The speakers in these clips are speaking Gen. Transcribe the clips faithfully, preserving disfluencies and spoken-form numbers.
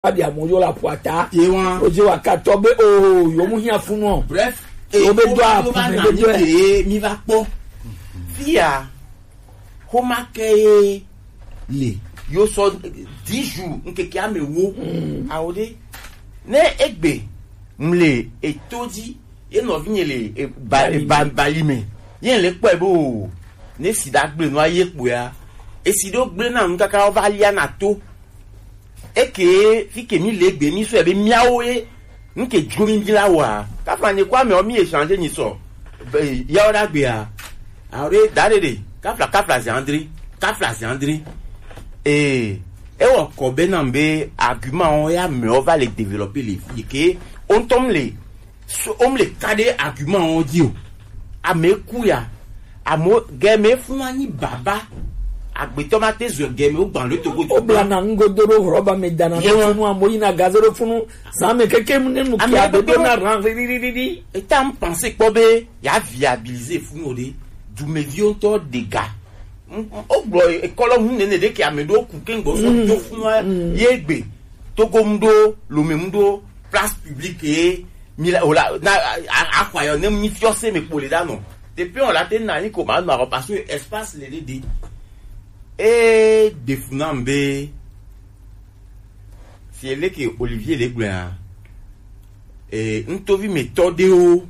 Abi amoyo la puata. Ye wa. Oje wa katɔ be o yo mu hia funu. Bref, e Yo be ko do a yo ba pu na be ni do. Ke mi va kpɔ. Fia, xoma ke ye le. Yo sɔ dix jours, nkeke ame wo. Awo de. Ne egbe, mle, eto dzi, ye nɔvi nye le, e, ba, e, ba, Bali me. Ye le kpɔe bo. Ne sida gble no aye kpɔa. Esi do gble na nu kaka wo va lia na to. Eke fi ke mi le gbe mi sɔ ebe miawo ye nke dro mi di la wa. Kafla nye kwa me o mi échanger nyi sɔ. Be, ya o da gbe a. Awo de da de de. Kafla, kafla ze André. Kafla ze André. Eh, e wɔ kɔ be na be argument o ya me o va le développer le fi ke o ntɔm le so, o mle ka de argument o di o. Ame ku ya. Amo gɛmɛ fún wa ní bàbá. Agbetɔ ma te zɔ gɛmɛ o gban lo togo. O bla na ŋgo do ɖo rɔba me dana Ye ɖo wa. Funu amo yi na gaze ɖo funu. Zan me keke mu ne nu Ame kia be do kpekpe na ran ri ri ri ri. Eta n pense kpɔ be ya viabiliser funu o de. Dumeviwo ŋutɔ ɖe ga. O gblɔ ekɔlɔ ŋu nene ɖe ke ame ɖo ku ke ŋgbɔ sɔ do funu wa ye gbe. Togo mu ɖo, Lome mu ɖo, place publique ye. Mi la, o la, na, a, a, axɔ ayɔ ne mi fiɔ se me kpole da nɔ. Depuis on la te na ni ko ma nɔ arɔ parce que espace le de de. E de funa be. Si ele ke Olivier le gblɔ ya. E, ntovi me tɔ de o.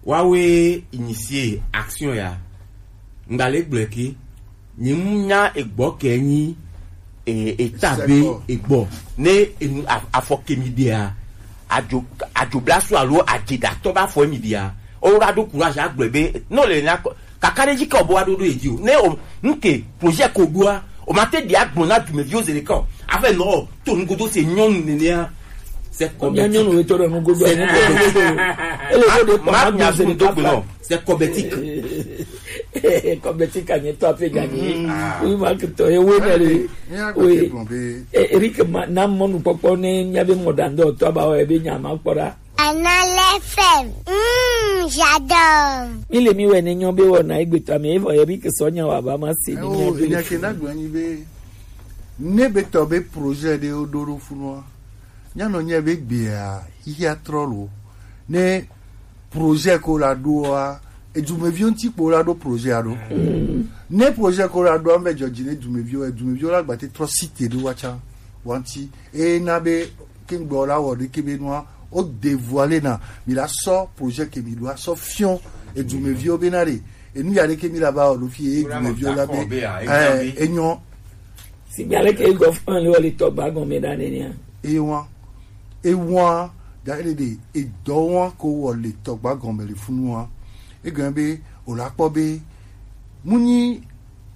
Wa we initier action ya. Ngba le gblɔ ke. Nyi mu nya egbɔ kɛ nyi e, eta be egbɔ. Ne enu a- afɔ ke mi dia. Adzo adzo blasu alo adze da tɔ ba fɔ mi dia. O ra do courage agblɔ be no le na kɔ- kaka ɖe dzi ke o bo wa ɖo ɖo edzi o. Ne o nke projet ko ɖoa o ma te ɖi agblɔ na dumeviwo zi ɖeka o. Afɛ nɔ to nugodo se nyɔnu nenea. C'est Mia nyɔnu kɔbɛtik. Wetɔ ɖe nugodo. C'est kɔbɛtik. Ele ko de kɔ ma ma do nya se sumu ɖeka dogbe nɔ. Place. C'est kɔbɛtik. Kɔbɛtik anyɛ tɔ ape gani. Oui, ma ke tɔ ye we na le. Mia gbe ke gblɔ be Eric ma na mɔnu kpɔkpɔ ne mia be mɔ dan dɔ tɔ ba o ebe nya ma kpɔ ɖa. Anale F M. Mm, j'adore. Mi le mi wɛ ne nyɔ be wɔ na egbe tɔ mi evɔ Eric sɔ nya wa ba ma se ni Oh, nya be. Nya ke na gblɔ nyi be ne be tɔ be projet ɖe wo ɖo ɖo funua. Nya nɔ nya be gbea xixia trɔ lo. Ne projet ko la ɖoa, edumeviwo ŋuti kpo la ɖo projet a ɖo. Ne projet ko la ɖoa, mbe dzɔdzi ne dumeviwo, edumeviwo la gbate trɔ site ɖo wa tsa wa ŋuti. E na be Kengbe la wɔ ɖeke be nua o dévoiler na mi la sɔ projet ke mi ɖo asɔ fiɔ edumeviwo be na ɖe enu ya ɖeke mi la ba wɔ ɖo fi edumeviwo la be eh enyɔ. Sigbe ale ke egɔ fún le wɔ le tɔgba gɔme ɖa nenia. Ewa ewa da ele ɖe edɔ wa ko wɔ le tɔgba gɔme le funua. Egɔme be o la kpɔ be mu nyi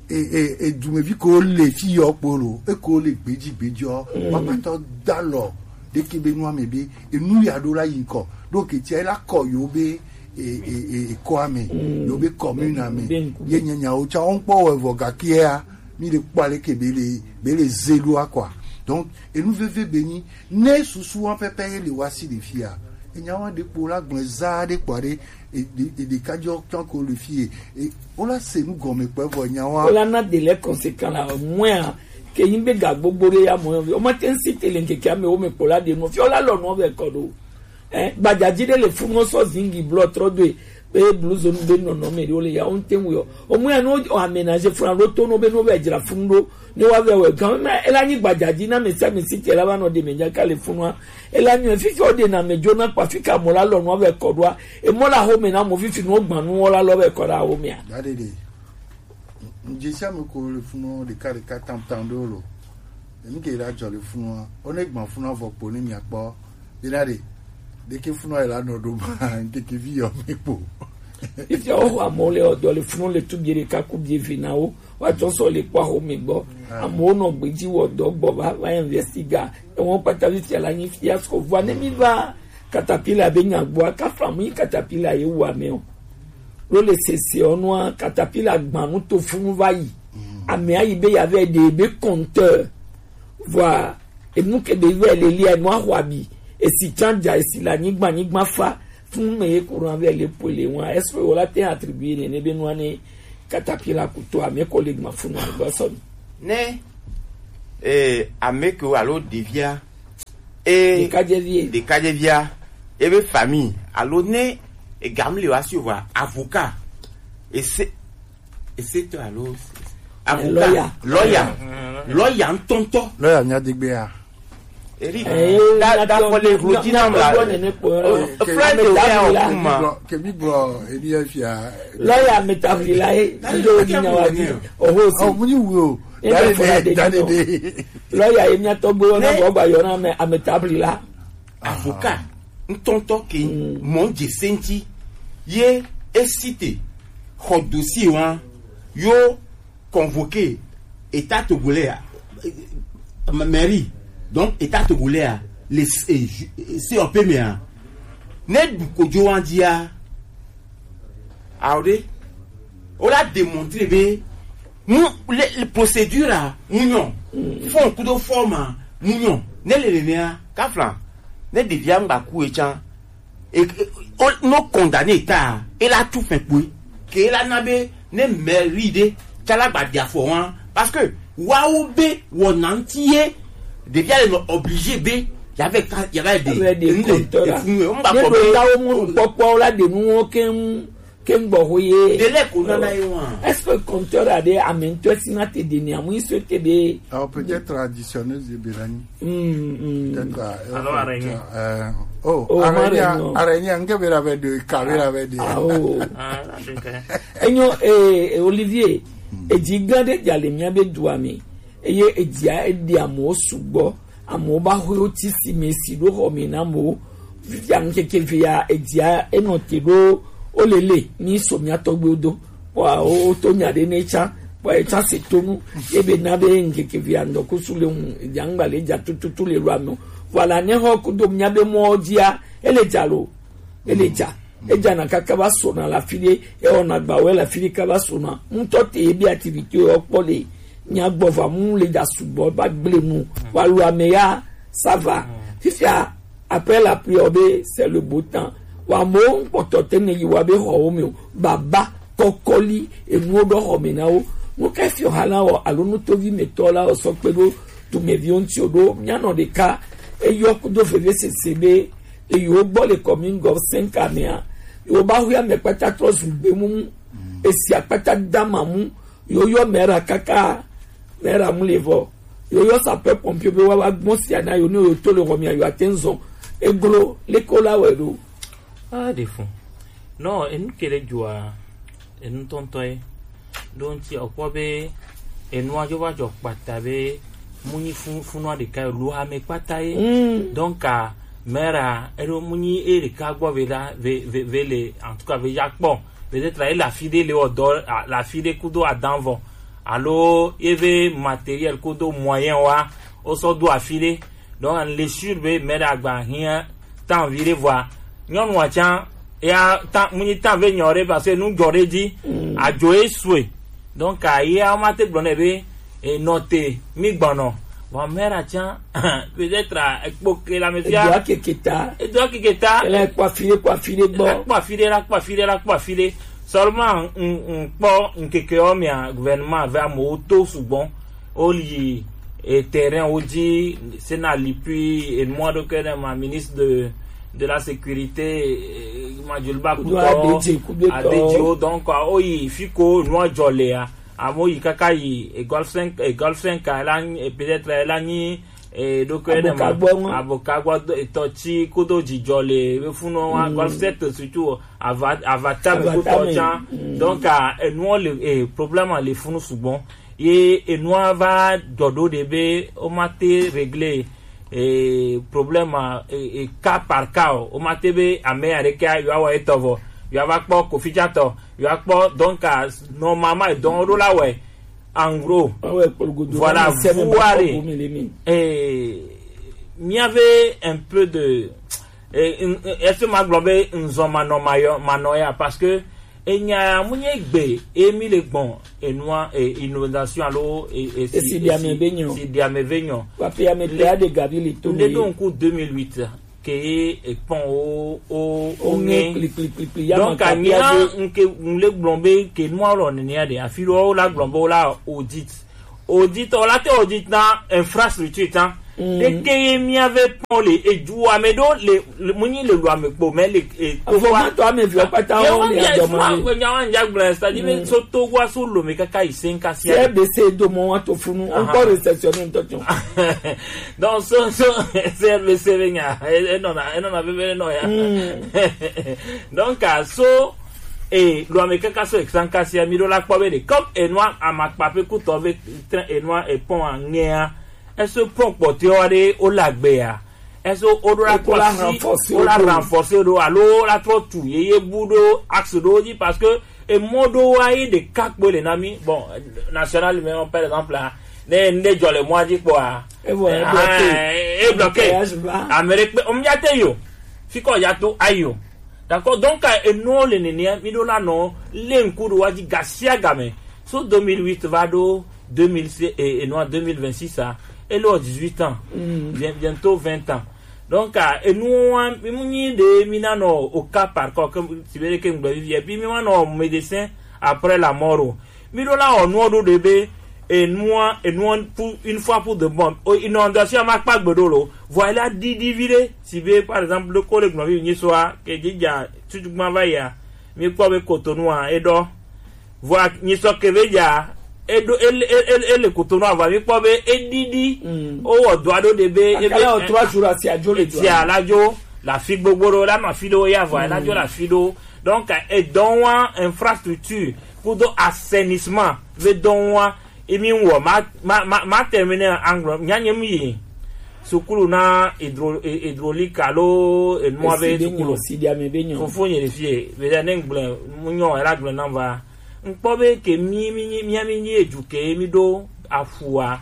e e e dumevi ko le fi yɔ kpo lo e ko le gbeji gbeji ɔ wa patɔ da lɔ ɖeke be nua me be enu ya ɖo la yi ŋkɔ ɖo ketia la kɔ yo be e e e ekɔa me yo be commune me ye nya nyawo tsa wɔn kpɔ wɔ evɔ gakia mi le kpɔ ale ke be le be le zelu akɔa donc enu veve be nyi ne susu wa pɛpɛ ye le wa si le fia enya wa ɖe kpo la gblɔ za ɖe kpɔ ɖe e ɖe e ɖe kadzɔ tsɔ ko le fie e o la se nu gɔme kpɛ vɔ nya wa. O la na de lɛ conséquent la mɔa ke yin be ga gbogbo ɖe ya mɔ yɔ vi o ma te ŋsi te le ŋkeke ame wo me kpo la de nɔ fi o la lɔ nɔ vɛ kɔ ɖo. Eh, gbadzadzi ɖe le funu sɔ zingi blɔ trɔ doe be bluzo nu be nɔnɔ me ɖewo le ya wo ŋte ŋu yɔ. O mu ya no o aménagé funa ɖo to no be no be dzra funu ɖo ne wa vɛ wɛ gan me ela nyi gbadzadzi na me sia me si te la va nɔ de me nya ka le funua. Ela nyi fifi o de na me dzo na kpa fika mo la lɔ no vɛ kɔ ɖoa. E mo la ho me na mo fifi no gban nu wo la lɔ vɛ kɔ ɖa ho me a. Dadede. Ŋdze sia me ko le funɔ ɖeka ɖeka tam tam ɖewo lo. Enu ke la dzɔ le funua, wo ne gbã funua vɔ kpo ne mia kpɔ. Bena ɖe, ɖeke funua yi la nɔ ɖo ma, ŋkeke vi yɔ me kpo. Fifia wo xɔ amewo le ɔdɔ le funu le tu bie ɖeka ku bie vi na wo. Wa tsɔ sɔ le kpɔ aho me gbɔ. Amewo nɔ gbedzi wɔ dɔ gbɔ va va investiga. Ewo kpata fifia la nyi fiasco vua ne mi va katapila be nya gbɔa kafla mu yi katapila ye wu ame o. Ɖo le sese ɔ nua katapila gbanu to funu va yi. Amea yi be ya vɛ ɖe be compteur. Vɔa enu ke be vɛ le lia nua xɔ abi. Esi tsã dza esi le anyigba anyigba fa funu me ye courant vɛ le poe le nua. Est-ce que wola te attribuer nene be nua ne katapila kuto ame ko le gma funu agba sɔ mi? Ne eh, ame ke alo ɖevia E ɖekadzevi e. Ɖekadzevia, ebe famille alo ne egam le wa si o va avocat. Ese ese to alo avocat. Lawyer. Lawyer. Lawyer ŋutɔŋutɔ. Lawyer nya degbe ya. Eric, eh, da da fɔ le hlo dzi nam la. Fly de ya o kuma. Ke bi bro, ebi ya fia. Lawyer ametabli la ye. Ndio ni nyawa di. Oho si. Oh, muni wo. Ebe fɔla de dani de. Lawyer ye mia tɔgbe wɔna bɔ gba yɔna me ametabli la. Avocat ŋutɔŋutɔ ke mɔ dze senti ye esite xɔ dossier wa yo convoqué état togolais a, mairie, donc état togolais a, le C O P me a, ne du kojo wa dia. Awo ɖe, o la démontrer be mu le, le procédure a mu nyɔ, fond kudo forme a mu nyɔ, ne le nenea kafla ne ɖevia ŋgba ku etsã. E, e, o no condamné ta e la tu fɛn kpoe ke e la na be ne mairie ɖe tsa la gba ɖi afɔ wa, parce que wawo be wɔna ŋuti ye ɖevia le nɔ obligé be yava ka yava ɖe ŋu le efunu ye ŋgba kɔ be. Tawo mu kpɔkpɔ la ɖe nuwo keŋ keŋ gbɔ ho ye. Délai ko nana ye wa. Est-ce que compteur a ɖe ame ŋutɔ si na te ɖe ni amu iso te be? Alors peut-être traditionnel de Belani. Mm, mm. Peut-être euh, alors araignée. Euh, oh, oh araignée, araignée, nge be la be de, ka be la be de. Ah, oh. Ah, la de ka. Enyo eh, eh, Olivier, edzi gã ɖe dza le mía be dua me. Eye edzia eɖi amewo sugbɔ. Amewo ba xɔe woti si me si ɖo xɔ me na amewo. Fifia ŋkeke vea edzia enɔ te ɖo wolele ni so mía tɔgbewo do. Kpɔa woto nya ɖe ne tsã kpɔa etsã se tonu ebe na be ŋkeke vea ŋdɔkusu le ŋu edzia ŋgba le dza tututu le lua me o. Voilà ne xɔ kudo mía be mɔwo dzia ele dza lo. Ele dza. Edzana kaka va sona le afi ɖe, ewɔna agbawo le afi ɖe kaka va sona. Ŋutɔ te ebi activité wo kpɔ le nyagbɔ va mu le dza sugbɔ va gble nu. Wa lu ame ya ça va. Fifia après la pluie be c'est le beau temps. Wa mo kpɔtɔ te ne yi wa be xɔ wo me o. Baba kɔkɔli enuwo ɖɔ xɔ me na wo. Nu ka fiɔ ha la wɔ alo nutovi me tɔ la wɔ sɔ kpe ɖo dumeviwo ŋuti o ɖo mianɔ ɖeka eyɔ kudo veve sese be Eyi wo gbɔ le commune gɔv cinq mea, yewo ba hu ame kpata trɔ zu gbe mumu. Esi akpata dama mu, yewo yɔ mera kaka, mera mu le vɔ. Yewo yɔ sapeur pompier be wa wa gbɔn sia na yewo ne yewo to le xɔ mea yewo ate ŋu zɔn. Eglo leke wo la wɛ ɖo. Ah, de fun. Non, enu ke ɖe dzɔa, enu tɔntɔ ye. Ɖo ŋuti ɔkpɔ be enua dzo va dzɔ kpata be mu nyi fun funua ɖeka ye lo ame kpata ye. Mm. Donc a mera eɖo mu nyi e ɖeka gbɔ ve ɖa ve ve ve le en tout cas ve ya kpɔ. Peut-être ele afi ɖe le wɔ dɔ a- le afi ɖe kudo adan vɔ alo ye ve matériel kudo moyen wa wo sɔ do afi ɖe. Donc an le sûr be mera gba hiã tan vi ɖe vɔa nyɔnua tsã ya tan mu nyi tan ve nyɔ ɖe parce que nu dzɔ ɖe dzi adzo ye sue. Donc a ye a ma te gblɔ nɛ be enɔ te mi gbɔnɔ vɔ mera tsã peut-être ekpo ke la me fia edoa keke ta edoa keke ta ele kpɔ afi ɖe kpɔ afi ɖe gbɔ kpɔ afi ɖe la kpɔ afi ɖe la kpɔ afi ɖe. Seulement n n kpɔ nkeke wo mia gouvernement ve amewo to sugbɔ. Oli e terrain wo dzi sena lipui enua ɖo ke ne ma ministre de de la sécurité eh, majulba kutɔ adedziwo donc ah, oyi fiko nua dzɔ lea amewo yi kaka yi e golf cinq e golf cinq la nyi- eh, peut-être la nyi eh, ɖo ke ne ma Aboka gbɔ ŋu. Aboka gbɔ do- etɔ tsi kodo dzidzɔ le be funu wa golf sept surtout ava ava tame Ava kutɔ tame. Tsã Mm. Donc ah, enuwo le eh, problème le funu sugbɔ. Ye enua va dzɔ ɖo ɖe be woma te régler eh, problème eh, eh, cas par cas o woma te be ame aɖeke yewoawɔ etɔ vɔ yewoava kpɔ kofitsatɔ yewoakpɔ donc ah, normalement edɔn ɖo la wɛ en gros. Awo ekpologodo voilà na sɛbɛn ba vuare kɔpu mi le mi. Eh, miave un peu de eh, n- n- est-ce que magblɔ be nzɔ manɔ mayɔ manɔ ya parce que enya mu nye gbe emi le gbɔn enua eh, inondation alo eh, eh, si- Esi di ame si- be nyɔ. Si di ame be nyɔ. Papi ame te a de gavi le to ne mi. Ɖo ŋku deux mille huit ke ye ekpɔn wo wo wo Onye ŋe kplikplikplikpli ya donc ma anyia kapia de. Nke ŋle gblɔ be ke nua lɔ nenia de afi lɔ wo la gblɔ be wo la audit audit o la te audit na infrastructure tan. Ɖeke ye mía ve kpɔn le edu ame ɖo le, le mu nyi le lu ame kpo mɛ le e to Avɔ wa. Ma tɔ ame vi kpata Ye wo wa le mi adɔ ma suma le. Ko nya wa nya gblẽ, c'est-à-dire so to wa so lo me kaka yi sen kasi. C R B C do mo wa to funu. Aha. Encore réceptionné ntɔ tɔn. Donc so so C R B C be nya e e nɔna e nɔna be be nɔ ya. Donc a so e lo ame kaka so exan kasi mi ɖo la kpɔ be de comme enua amakpa pe kutɔ be train enua e pɔn a ŋɛa. Est-ce que pɔn kpɔtɔewo ɖe wole agbe ya? Est-ce que woɖo la Wokɔ la kpɔ si renforcer wole wo ɖo. Renforcer ɖo alo wole trɔ tu yeye bu ɖo axe ɖewo dzi parce que emɔ ɖewo wa ye ɖeka kpoe le na mí. Bon, national numéro par exemple a, ne ŋɖe dzɔ le mɔa dzi kpɔa, Evɔ, eh, ebloqué. Ah, ebloqué. Voyage va. Ame ɖe kpe omyate yo. Fi kɔ ya to ayo. D'accord, donc euh, enuwo le nenea mi ɖo la nɔ le ŋku ɖo wa dzi gasiagame so deux mille huit va ɖo deux mille six et, et non deux mille vingt-six a ele wɔ dix-huit ans. Mm. Bien- bientôt vingt ans. Donc euh, enuwo wa mi mu nyi ɖe mi na nɔ au cas par cas ke si be ɖeke ŋgbe vivi et puis mi wa nɔ médecin après la mort o. Mi ɖo la wɔ nuwo ɖo ɖe be enua enua pour une fois pour de bon o inondation ma kpa gbe ɖo lo vɔ ela ɖiɖi vi ɖe si be par exemple ɖo ko le gblɔ vi nyi soa ke dzi dza tutu gbã va yia mi kpɔ be Cotonou a eɖɔ vɔ nyi sɔ ke be dza eɖo ele ele ele Cotonou a vɔ mi kpɔ be eɖiɖi Mm. Wowɔ dɔa ɖo ɖe be ebe Akala o trois jours asi adzo le dɔa. Sia la dzo la fi gbogbo ɖo la nɔ afi ɖewo ya vɔ la dzo la fi ɖewo donc edɔ wa infrastructure kudo assainissement ve dɔn wa emi wɔ ma ma ma ma terminer anglo nya nye mi yi sukulu na hydro e- hydraulique alo enua be Esi be sukulu nyo, si dia me be nyo. Fofo nye le fie be da ne ngble mu nyo era gble na va nkpɔ be ke mi mi mi mi mi edu ke mi do afua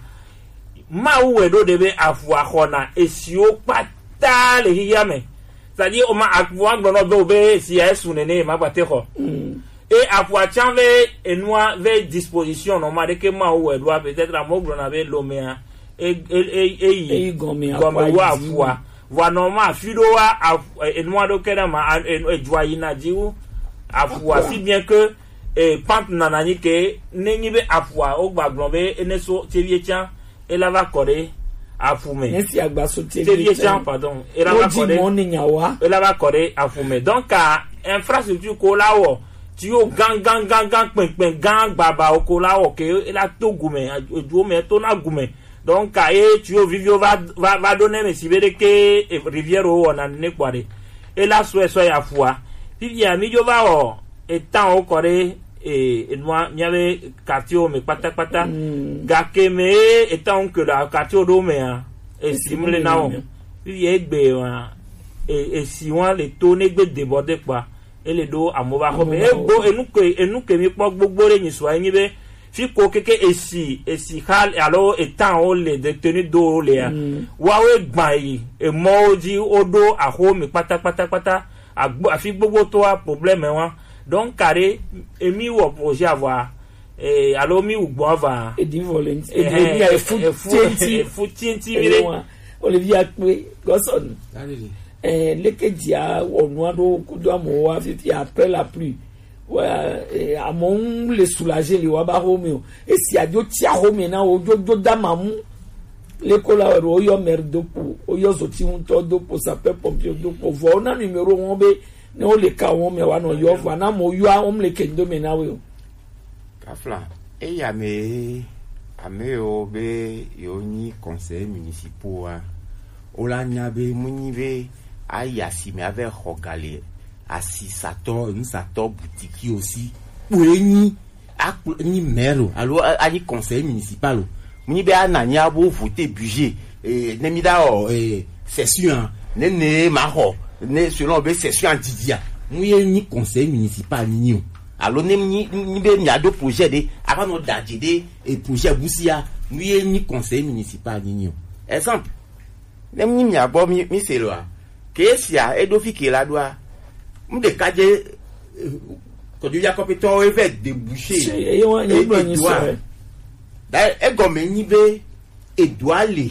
Mawu wɛ ɖo ɖe be avu axɔna esiwo kpata le xixia me. C'est-à-dire o ma avu agblɔ nɔ be o be esi ya esu nene ma gbate xɔ. E avu atsan ve enua ve disposition nɔ ma ɖeke Mawu wɛ ɖoa peut-être amewo gblɔna be lomea e e e e yi Eyi gɔme gɔme akwa wu yi. Avua. Vɔa nɔ ma afi ɖo wa avu- enua ɖo ke ɖe ma a- e- edua yina dzi wu avua Akwa. Si bien que e pant nana nyi ke ne nyi be aƒua wo gba gblɔ be ene so tevie tsã ela va kɔ ɖe aƒu me. Ne si agba so tevie tsã pardon ela va kɔ ɖe mɔ ne nyawa ela va kɔ ɖe aƒu me donc a infrastructure ko la wɔ ti yo gan gan gan gan kpɛnkpɛn gan gbaba o ko la wɔ ke ela to gume eduwo me to na gume Donc ka ye tuyau viviwo va va va ɖo ne me si be ɖeke rivière wo wɔna ne kpɔ ɖe. Ela sɔe sɔe ya fua. Fifia mi dzo va wɔ etan wo kɔ ɖe e enua mia be quartier wo me kpatakpata. Gake me etan wo ke le quartier wo ɖo mea esi mle na wo. Fifia egbe wa e esi wa le to ne gbe débordé kpɔa. Ele ɖo amewo va xɔ me. Egbo enu ke enu ke mi kpɔ gbogbo ɖe nyi sua enyi be fi ko keke esi esi xa alo etan wo le de tenu do wo lea. Woawo egba yi emɔwo dzi woɖo axo mi kpata kpata kpata agbo afi gbogbo to wa problème wa donc ka ɖe emi wɔ projet avɔa eh, alo mi wu gbɔ va. Edi volenti. Edi Ehe, edi efu efu tienti. Efu tienti mi ɖe. Ewa. Olivia kpe gɔsɔn. Alele. Eh, leke dia wɔnu aɖo kudo amewo wa fifi après la pluie. Wa eh, amewo ŋu le soulager le wa ba xome o. Esi adzo tsi axome na wo dzo dzo da mamu. Leko la wɛ ɖo woyɔ maire do kpo, woyɔ zoti ŋutɔ do kpo, sapeur pompier do kpo. Vɔ wona numéro wɔn be ne wo le ka wɔn me wa nɔ yɔ vɔ na mo yɔ wɔn le kendo me na we o. Kafla, eya me ame yiwo be yewo nyi conseillers municipaux wa, wo la nya be mu nyi be ayi asime ave xɔ ga le asisatɔ, nusatɔ butikiwo si kpoe nyi akplɔ nyi maire o alo a- anyi conseiller municipal o. Mu nyi be ana nyi abo voter budget eh, ne mi da wɔ eh, session a, ne ne ma xɔ ne selon be session a didi a, mu ye nyi conseiller municipal nyi o. Alo ne nyi nyi be mia do projet ɖe ava nɔ da dze ɖe e projet busia mu ye nyi conseil municipal nyi nyi o. Exemple, ne nyi mia gbɔ mi mi se lɔa ke sia eɖo fi ke la ɖoa mu ɖeka dze kɔdzovi akɔpetɔwo eve debouché. Eye wa nye gblɔ nyi sɔ. Da egɔme nyi be edoa le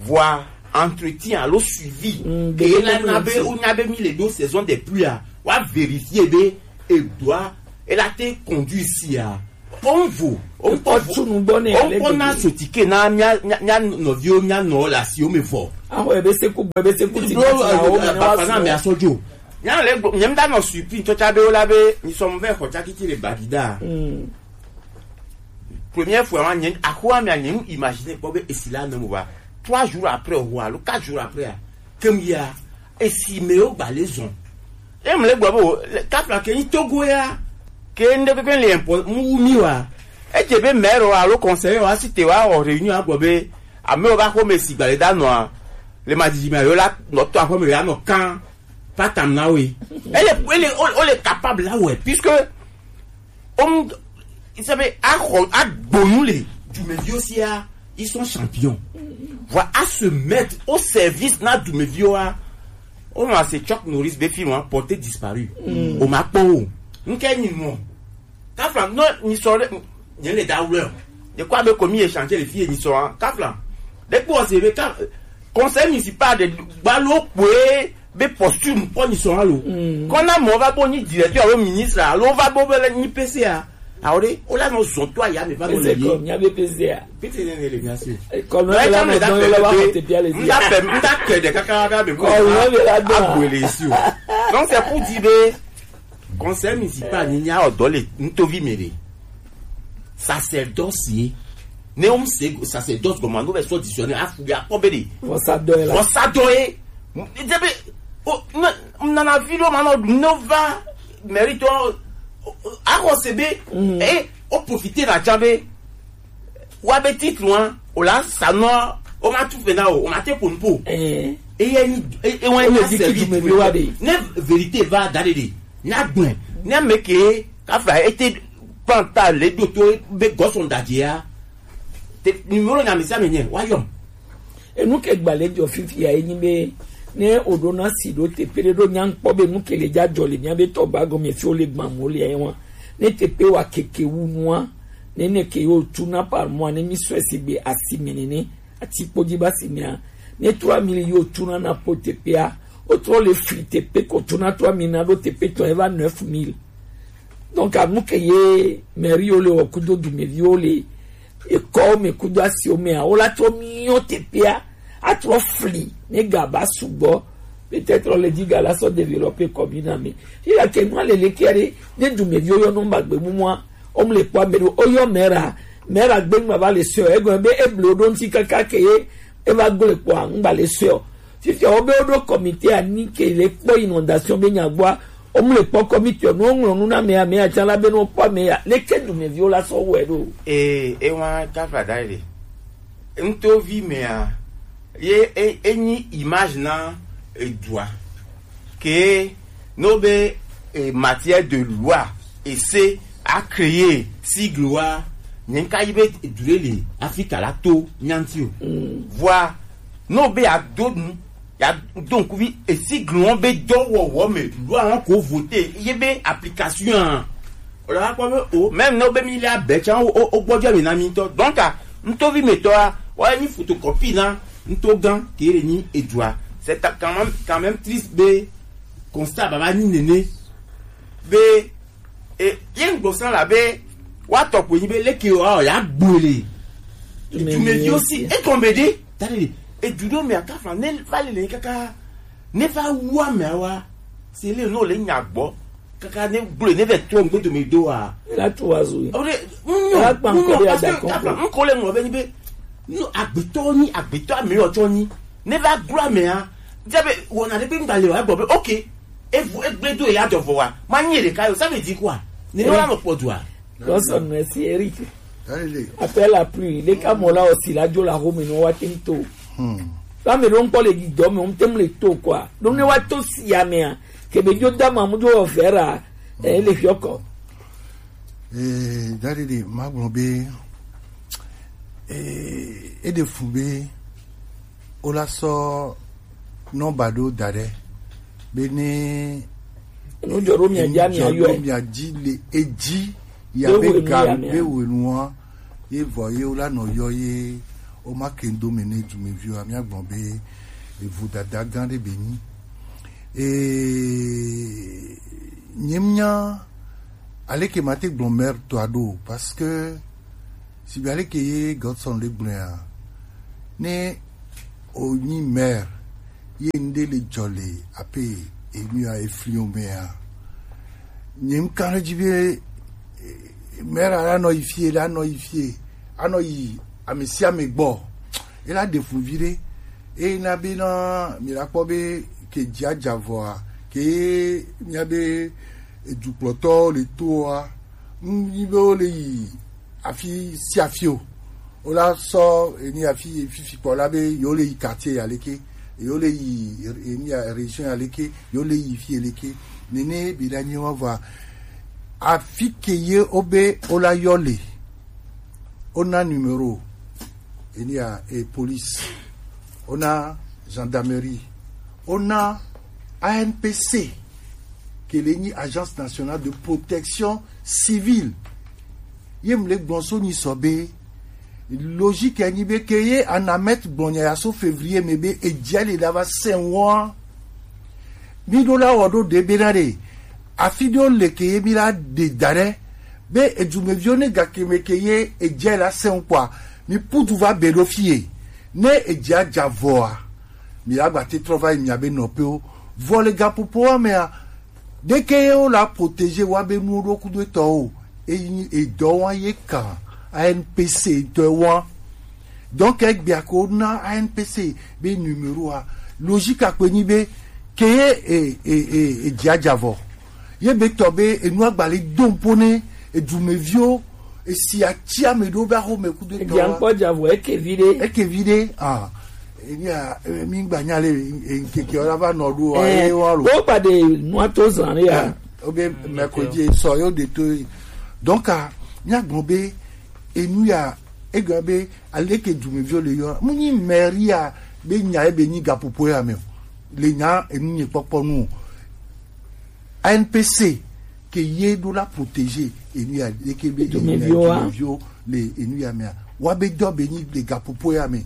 vɔa entretien alo suivi ke la na be wonya be mi le ɖo saison de pluie a wa vérifier be edoa ela te conduire sia Wo ŋu vo, wo ŋkɔ vo, wo ŋkɔ na sotike na mía, mía, mía nɔviwo, mía nɔ le asiwo me vɔ. Aho ebe se ku gbɔ, ebe se ku ti. Blo, gbɔ ti na wo me ne wa bafana me asɔ dzo. Nya le gbo, nyem da nɔ surpris ntɔ tsa be wo la be, ni sɔmu vɛ xɔ tsa kiti le Bagida. Première fois, wa, nye, axoa mea, nye ŋu imaginer kpɔ be esi la ne mo va. Trois jours après, o, alo quatre jours après, a, ke mu ya, esi me wo gba le zɔn. E mu le gblɔ be o, le, kafla ke nyi Togo ya, ke ŋɖe kpekpe le impɔ-, mu wu mi wa. Edze be maire wa alo conseiller wa si te wa wɔ réunion agblɔ be, amewo va xɔ me si gba le da nɔa, le ma didi me yo la nɔ to axɔ me ya nɔ kan. Pas tam na we. Elle est, elle est, on, on est capable là, ouais, puisque on, il s'appelle Aaron, Agbonu, les Dumevios, ils sont champions. Voilà, à se mettre au service na Dumevio, hein. On a ce Chuck Norris, des films, hein, porté disparu. On m'a pas. Nous, qu'est-ce que nous, Kafla, non, ni sɔ ɖe, nye le da wlɔ. Ɖe kɔ abe komi échanger le fie ni sɔ, hein. Kafla. Ɖe kpɔ se be ka, conseil municipal de Gbalo kpoe be posture kpɔ ni sɔ alo. Kɔ na mɔ va bo ni directeur alo ministre alo va bo be le ni P C A. Awo ɖe, o la nɔ zɔn to aya me va bo le. Ese kɔ, nya be P C A. Pete ne ne le mia se. Kɔmi la me da dɔn la ma te bia le. N da pɛ, n da kɛ de kaka kaka be ko. Kɔmi la me la dɔn. Agbele si o. Donc c'est pour dire be Conseil municipal ni nya ɔdɔ le ntovi me ɖe. Sacerdoce ye. Ne o mu se sacerdoce gɔme, no bɛ sɔ dictionnaire afu ya kpɔ be ɖe. Vɔsadɔ ye la. Vɔsadɔ ye. N-, n-, be, o, n-, n-, nana vi ɖo ma nɔ ɖu, no va mérite o, o, axɔ se be, e, o profiter na tsa be, wa be titre wa, o la sa nɔ, o ma tu fe na o, o ma te po nu po. Eh. E ye ni, e, e wa ni di ki du me be wa de. Ne vérité va da de de. Nya gbɔn. Ne ame ke, kafla, e te panta le do to be gɔsɔn da je ya. Te, numéro na mi sa me nye, wa yɔ. Enu ke gba le jɔ fifi ya enyi be, ne o ɖo na si ɖo te pe ɖe ɖo nya kpɔ be nu ke le ja jɔ le mia be tɔ ba gɔme fi o le gba mo le ya wa. Ne te pe wa keke wu nua, ne ne ke yo tu na par mois, ne mi sɔ esi gbe asi me nene, ati kpo ji ba si mea, ne trois mille yo tu na na po te pe a, o trɔ le fli te pe ko tu na trois mille na ɖo te pe tɔ eva neuf mille. Donc, anu ke ye mairie wo le wɔ kudo dumeviwo le ekɔwo me kudo asiwo mea, wo la trɔ miɔ teƒea, atrɔ fli ne ga ba sugbɔ. Peut-être le di ga la sɔ développer commune me. Fi la ke nua le le kia ɖe, ne dumeviwo yɔ nɔmba gbe mumua, wo mu le kpɔ ame ɖo, wo yɔ maire, maire gbe ŋma va le sɔ, egɔme be eble wo ɖo ŋuti kaka ke ye eva gblẽ kpɔa, ŋgba le sɔe o. Fifia wobe woɖo comité anyi ke le kpɔ inondation be nya gbɔa, womle kpɔ comité o, ne woŋlɔ nu na amea, amea tsã la be ne wokpɔ amea, leke dumeviwo la sɔ wɔe ɖo? Ee, ewa kafla da ɖe. Ŋtovi mea, ye e, enyi image na edua. Ke no be, eh, matière de loi ese a créer sigle wa, nye ŋka yi be du ɖe le Afrika la to nyanti o. Vɔa, no be ya do nu, ya do ŋkuvi esigle wɔn be dɔwɔwɔ me loi wɔn ko voter ye be application a. O la kpɔ be o, même no be mi le abɛ tsa o, o, o gbɔdɔ mi na mi ŋutɔ. Donc, a, ŋtovi me tɔ a, wa ni photocopie na ŋtogã ke le ni edua. C'est quand même, quand même triste be constat baba nyi nene be, e, ye ŋgbɔ sã la be wa tɔ ko nyi be leke o, a, ya gboe le. Dumevi aussi, e kɔn be de, ta de, e du do me aka fa, ne va le le kaka, ne va wa me wa, se le no le nya gbɔ, kaka ne gboe, ne ve to ŋgbe do me do a. La tu wa zu. O de, ŋnyɔ, ŋnyɔ, parce que kaka ŋkɔ le ŋlɔ be nyi be, no, agbetɔ nyi, agbetɔ ame yɔ tsɔ nyi, ne va gblɔ amea, dze be wɔna ɖe be ŋgba le o, egbɔ be, ok, evu, egble do ya dɔ vɔ wa, ma nyi ɖeka yo, ça veut dire quoi? Ne yɔ la nɔ kpɔ dua. Lɔsɔ nɛ si Eric. Allez. Après la pluie, le ka mɔ la aussi la dzo la home no wa tin to. Hmm. La me ɖo ŋkpɔ le didɔ me, ŋte mu le to quoi. Donc ne wa to si ya mea, ke be dzo da ma mu dzo vera, eh, le fiɔkɔ. Ee, daɖiɖi magblɔ be, ee, eɖe fu be wola sɔ nɔmba ɖo da ɖe be ne nu dzɔ ɖo mia dzi, mia yɔe. Mia dzi le edzi ya be ga be wenua ye vɔ ye wola nɔ yɔ ye woma ke ŋdo me ne dumeviwa, miagblɔ be evu dada gã ɖe be nyi. Ee, nye mia Aleke ma te gblɔ maire tɔ a ɖo, parce que si be aleke ye Godson le gblɔ ya, ne o nyi maire ye nde le jɔ le ape enu ya efli o me ya. Nye nkan le dzi be, eh, maire la nɔ yi fie, la nɔ yi fie, anɔ yi ame sia ame gbɔ. Ela ɖe fu vi ɖe. Eye na be na mi la kpɔ be ke dzi adza vɔa, ke mia be edukplɔtɔ le toa, nu yi be wo le yi afi sia afi o. Wo la sɔ eni afi fifi kpɔ la be yo le yi quartier ya leke, yo le yi eni ya région ya leke, yo le yi fi leke. Nene bi da nyi wa vɔa, afi ke ye o be o la yɔ le, o na numéro, eni ya e police, o na gendarmerie, o na A N P C, ke le nyi Agence Nationale de Protection Civile. Ye mle gbɔn so nyi sɔ be, logique ya nyi be ke ye anamɛt gbɔn nya ya so février me be edze le da va sɛn wɔn. Mi ɖo la wɔ ɖo ɖe be na ɖe, afi ɖewo le ke ye mi la ɖe da ɖe, be edumeviwo ne gake me ke ye edze la sɛn kpɔa, mi putu va be ɖo fie. Ne edze adza vɔa, mi la gba te trɔ va yi mia be nɔƒewo. Vɔ le gaƒoƒoa mea, ɖeke ye wo la protéger wa be nuwo ɖo kudo etɔ o. Eyi edɔ wa ye kan A N P C tɔ wa. Donc egbea ko na A N P C be numéro a, logique akpe nyi be ke ye e e e e dze adza vɔ. Ye be tɔ be enu agbali dom po ne edumeviwo esi atsi ame ɖo be axome kudo etɔ wa. Egbea ŋkpɔ dza vɔ eke vi ɖe. Eke vi ɖe ah. Enya mi gba nya le nkeke ora va nɔ ɖo. Eh, eye wa lo. Wo ba de nua to zan ya. Obe mercredi sɔ yo de to. Donc ah, mi agbɔn be enu ya ega be aleke dumeviwo le yɔ mu nyi maire ya be nya ebe nyi gapopo ya me o. Le nya enu nye kpɔkpɔ nu o. A N P C ke ye ɖo la protéger enu ya leke be dumeviwo le enu ya mea wa be dɔ be nyi le gapopo ya me.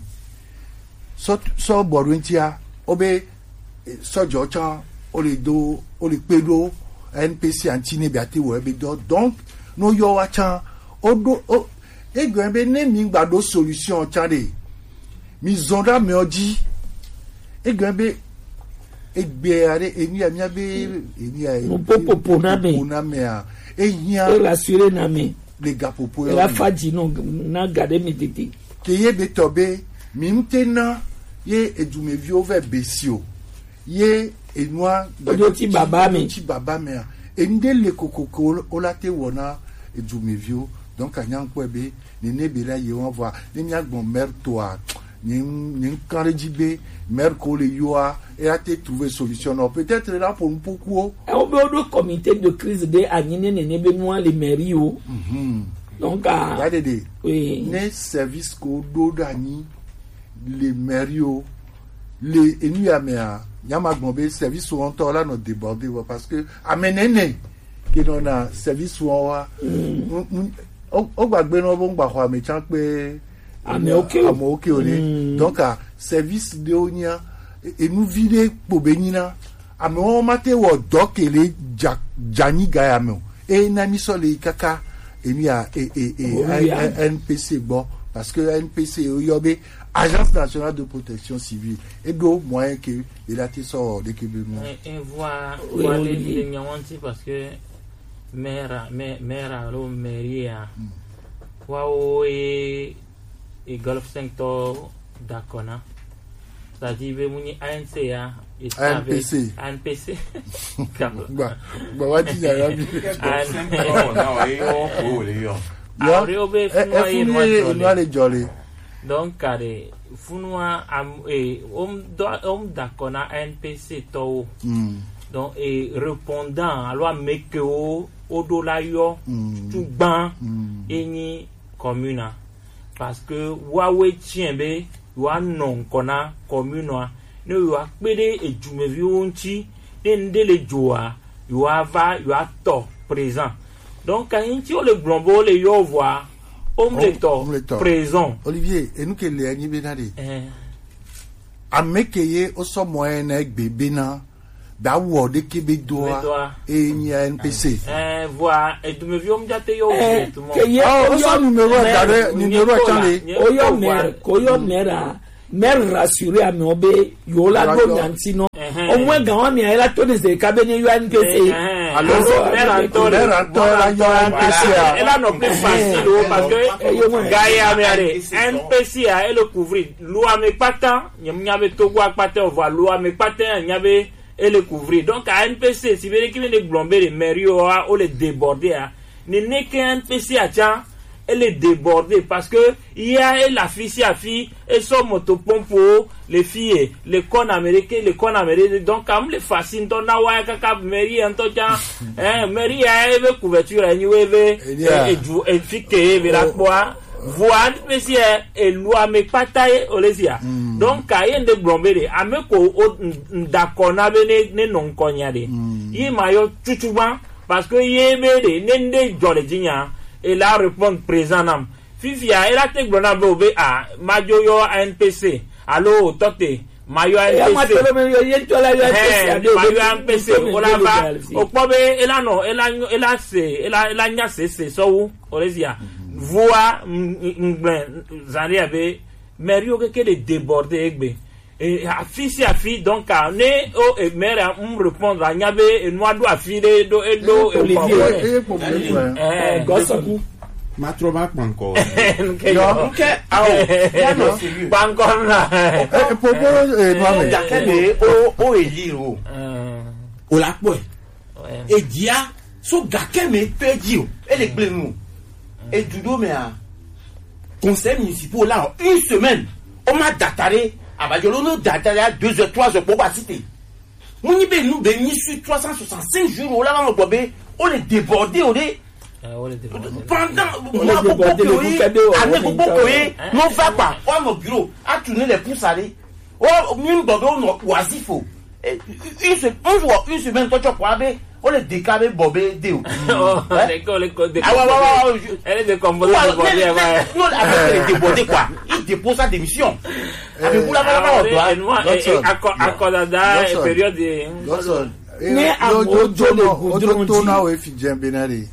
Sɔ sɔ bɔ ɖo ŋutia wo be sɔdzɔ tsã wo le do wo le kpe ɖo N P C aŋuti ne be ate wɔ ebe dɔ. Donc no yɔ wa tsã wo ɖo wo egɔe be ne mi gba ɖo solution tsã ɖe mi zɔn ɖe amewo dzi. Egɔe be egbea ɖe enu ya mia be enu ya nupopopo na me popo na mea ehia e rassurer na me le gapopo e ya la fa dzi no na ga ɖe mi didi. Ke ye be tɔ be mi ŋute na ye edumeviwo vɛ besi o ye enua oɖo ti baba me oɖo ti baba mea enu ɖe le kokoko wo la te wɔ na edumeviwo. Donc anya ŋkpɔe be nene be la ye wɔn vɔa ne mia gbɔn maire toa nye nye ŋkan ɖe dzi be maire ko le yoa e la te trouver solution nɔ peut-être la ƒo nuƒokuwo. Ewo be woɖo comité de crise ɖe anyi ne nene be nua le mairie o. Mhm. Donc ah ya ɖeɖe oui ne service ko ɖo ɖe anyi le mairie o le enu ya mea nyama gbɔn be service wo ŋutɔ la nɔ déborder vɔ parce que ame nene ke nɔ na service wo wa o gbagbe nɔ bo ŋgba xɔ ame tsan kpe ame oke o ame oke o ne. Donc ah service ɖewo nya enuvi ɖe kpo be nyina amewo ma te wɔ dɔ ke le dza dza nyi ga ya me o. Eye na mi sɔ le yi kaka emi ya e e e N P C gbɔ parce que N P C yɔ be Agence Nationale de Protection Civile eɖo moyen ke be la te sɔ wɔ ɖeke be nu. Evoa wa le le nya wanti parce que maire maire alo mairie ya wa o e e Golf cinq tɔ dakɔ na. C'est-à-dire be mu nyi A N C ya. A N P C. A N P C. Gba gba wa ti ya ya bi. Awore o be funu ye nua le jɔ le. Donc kare funua am e om do om dakɔ na A N P C tɔwo. Donc e répondant alo ame kewo woɖo la yɔ tugban enyi commune a. Parce que woawoe tiɛ be yewoanɔ ŋkɔ na commune a ne yewoakpe ɖe edumeviwo ŋuti ne ŋɖe le dzoa yewoava yewoatɔ présent. Donc kanyi ŋuti wole gblɔ be wole yɔ vɔa womle tɔ présent. Olivier enu ke le anyi be na ɖe ame ke ye wosɔ mɔ ene gbe bena Dawɔ ɖeke be doa. Be doa. E nyi N P C. Eh, vɔa, edumeviwo mu jate yɔ Eh, tu mo. ke ye Oh, oyɔ- oso numéro eh, da ɖe numéro can le. Oyɔ maire, koyɔ maire a, maire rassurer amewo be yewo la ɖo nya ŋuti nɔ. Au moins gan wa mia la to ne ze ka be ne yɔ N P C. Alo maire ŋutɔ la yɔ N P C a. Ela nɔ plus facile o parce que ga ya me are N P C a ele couvrir lo ame kpata, nyem nya be Togo akpata o va lo ame kpata nya be ele couvrir. Donc à N P C si be ki be ne gblɔm be le maire o a o le déborder a. Ne ne ke N P C a tsa ele déborder parce que ya e la fi si afi e sɔ moto pompe o le fi e le kɔn Amérique le kɔn Amérique donc am le facile ntɔ na wa kaka mairie ntɔ tsa eh mairie ya e be couverture ni we be e du e fi ke e be la kpɔa vua N P C e elu ame kpata ye o le sia donc ka ye nde gblɔm be de ame ko o ndakɔ na be ne ne nɔ nkɔ nya de ye ma yɔ tutu ba parce que ye be de ne nde jɔ le dzi nya e la répondre présent nam fifia e la te gblɔ na be o be a ma dzo yɔ N P C alo o tɔ te ma yɔ N P C ma yɔ N P C o la va o kpɔ be e la nɔ e la e la nya sese sɔwu o le sia vua ngblɛ zan de ya be mairie wo keke le déborder egbe afi si afi donc ne o maire a mu répondre a nya be enua ɖo afi ɖe ɖo eɖo Gɔsɔku. Matrɔ va kpankɔ. Yɔ. Ke awo. Kpankɔ na. Popo enua me. Gake ne o o eli o. O la kpɔe. Edia so gake me pe dzi o. Ele gblẽ nu. Edu ɖo mea. Conseil municipal la une semaine. O ma data ɖe abadzɔ lo no data ɖe à deux heures trois heures kpɔ ba site. Mo nyi be nu be nyi sur trois cent soixante-cinq jours o la va mo gbɔ be o le déborder o de. Pendant mois gbogbo ke o ye année gbogbo ke o ye no va kpa o anɔ bureau a tourner les pouces aller o mi gbɔ be o nɔ oisif o une semaine tɔtsɔ kɔ abe o le deka be bɔ be de o. Awa wa wa wa. Avec le débordé quoi, il dépose sa démission. Avec vous là-bas là-bas on doit. Akɔdada période. Ne amewo dzo le gudron dzi.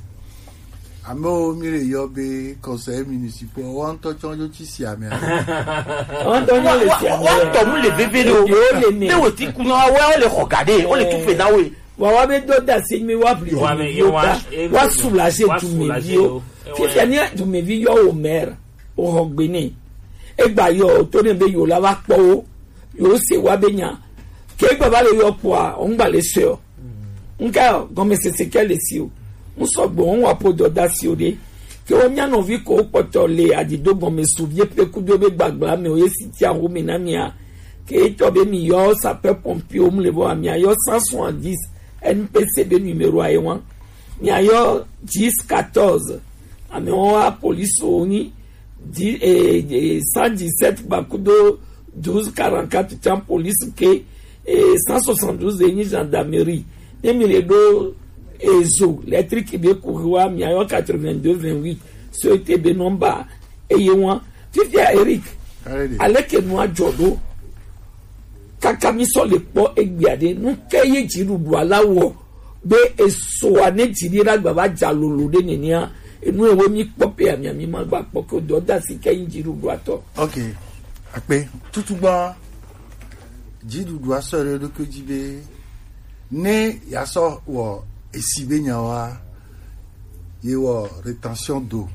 Amewo mi le yɔ be conseil municipal wa ŋutɔ tsɔ yo tsi si amea. Wa ŋutɔ nyo le si amea. Wa tɔ mu le veve ɖe o. Ne wo ti kun wa wa le xɔ ga ɖe o le tu fe na wo. Wa wa be do da si mi wa bli. Wa me yo wa. Wa soulager dumeviwo. Fifia ni dumevi yɔ wo maire o xɔ gbe ne. Egba yɔ to ne be yo la va kpɔ wo. Yo se wa be nya. Ke egba va le yɔ kpɔa o ŋgba le se o. Nka gɔmesese ke le si o. Ŋsɔgbe ŋu wa po dɔdasi o ɖe. Ke wo mia nɔvi ko kpɔtɔ le adzido gɔme su vie pe kudo be gbagba me o ye si tia wo me na mia. Ke etɔ be mi yɔ sapeur pompier o mu le bo amia yɔ cent soixante-dix N P C be numéro aye wan. Mia yɔ dix quatorze. Ame wa police o ni di eh, eh, cent dix-sept gbakudo douze quarante-quatre tsan police ke eh, cent soixante-douze ni gendarmerie ne mi le ɖo ezo lettre ki be kuxi wa mia yɔ quatre-vingt-deux vingt-huit so ete be nɔmba eye wan fifia Eric aleke nua dzɔ ɖo kaka mi sɔ le kpɔ egbea ɖe nu ke ye dziɖuɖua la wɔ be esoa ne dzi ɖi ɖagba va dza lolo ɖe nenea enu ewo mi kpɔ pe amia mi ma gba kpɔ ke o dɔ da si ke yin dziɖuɖua tɔ. Ok, akpe tutugbã dziɖuɖua sɔ ɖe ɖokui dzi be ne ya sɔ wɔ esi be nyawa ye wɔ rétention d'eau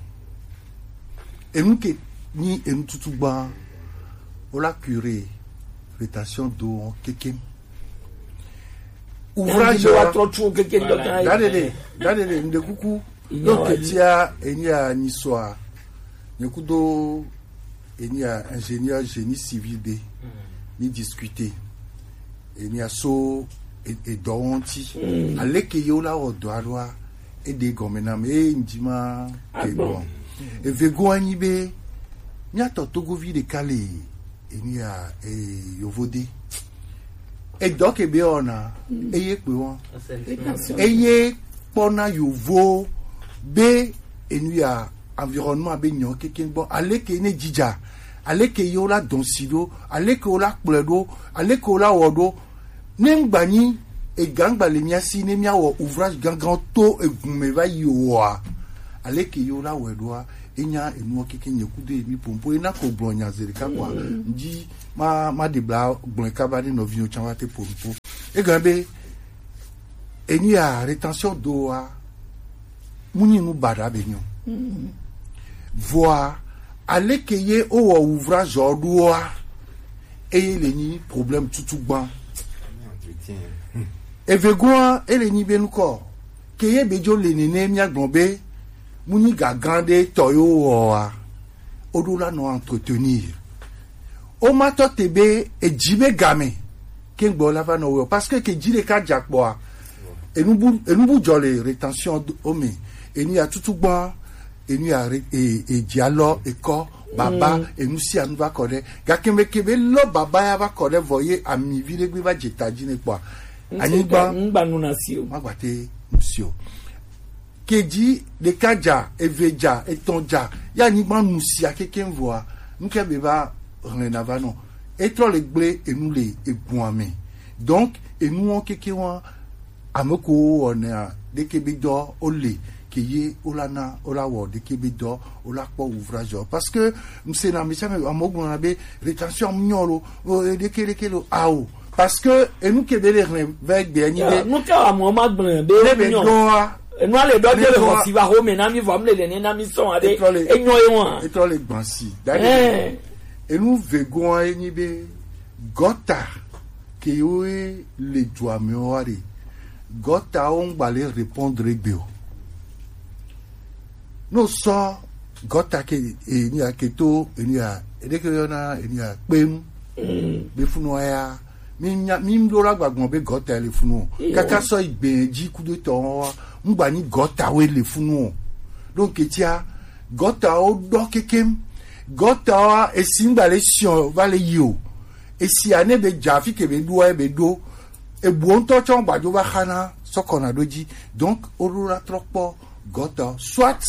enu ke nyi enu tutugbã wo la cure rétention d'eau kekem. Ouvrage wa trɔ tu keke dɔ kan. Dadede dadede nde kuku. Yo ketia enia nisoa. Nye kudo enia ingénieur génie civil be. Ni discuter. Enia so edɔ wɔn ti. Aleke yo la wɔ dɔ aɖoa. Eɖe gɔme na me eye ŋdi ma. Egbɔ. Evego anyi be. Miatɔ togovi ɖeka le. Enia eh, yovo de. Edɔ ke be wɔna eye kpe wɔn eye kpɔna yovo be enu ya environnement be nyɔ keke gbɔ aleke ne dzidza aleke ye wo la dɔn si ɖo aleke wo la kplɔe ɖo aleke wo la wɔ ɖo ne ŋgba nyi Ega ŋgba le mía si ne míawɔ ouvrage gangan to egun me va yi oa, aleke yewo la wɔe ɖoa, enya enuɔ keke nye kudo emi pompo ena ko gblɔ nya zeɖeka kɔa, ŋdi ma ma ɖe bla gblɔe kaba ne nɔviwo can wa te po nupo. Egɔme be enu ya rétention doa, mu nyi nu baɖa be nyɔ. Vɔa, aleke ye wowɔ ouvrage ɔ ɖoa, eye le nyi problème tutu gbã. Evegoa, ele nyi be nukɔ, ke ye be dzo le nene mía gblɔ be, mu nyi gagan ɖe tɔ yo wɔa, o ɖo la nɔ entretenir. O ma tɔ te be, edzi be game, ke gbɔ la va nɔ wɔ, parce que ke dzi ɖeka dza kpɔa, enubu enubu dzɔ le rétention o me, enu ya tutu gbã, enu ya re- e- e- dzi alɔ ekɔ baba, enu sia nu va kɔ ɖe, gake me ke be lɔ baba ya va kɔ ɖe vɔ ye ami vi ɖe gbe va dze ta dzi ne kpɔa, anyigba ŋgba nu na si o. Magba te nu si o. Ke dzi ɖeka dza, eve dza, etɔ̃ dza, ya anyigba nu sia keke vɔa, nu ke be va hlɛna va nɔ. Etrɔ le gble enu le egun ame. Donc enuwo keke wa, ame ko wɔna ɖeke be dɔ o le ke ye o la na o la wɔ ɖeke be dɔ o la kpɔ ouvrage o. Parce que mse na misa me ame gblɔ na be rétention am nyɔ lo, o ɖeke ɖeke lo, ao. Parce que enu ke be le hlɛ va gbe anyi be nu ke wa mo ma gblɔ be ne be nyɔ dɔa enu ale dɔ ne de le dɔa hosi va home na mi vɔ mi le ne na mi sɔn ade etrɔ le enyɔ ye wa etrɔ le gbansi. Dade enu vegoa enyi be gɔta ke wo le dua me wa de, gɔta wo ŋgba le répondre gbe o. No sɔ gɔta ke enu ya ke to enu ya eɖeke yɔna enu ya kpem be funu ya mi nya mi ɖo la gbagbɔ be gɔta le funu o. Kaka sɔ igbe dzi kudo tɔ wa ŋgba nyi gɔta wo le funu o. Donc etia gɔta wo dɔ kekem. Gɔta wa esi ŋgba le siɔ va le yi o. Esia ne be dza fi ke be ɖoa be ɖo. Ebuɔ ŋutɔ tsɔ gbadzo va xana sɔ kɔna ɖo dzi. Donc o ɖo la trɔ kpɔ gɔtɔ, soit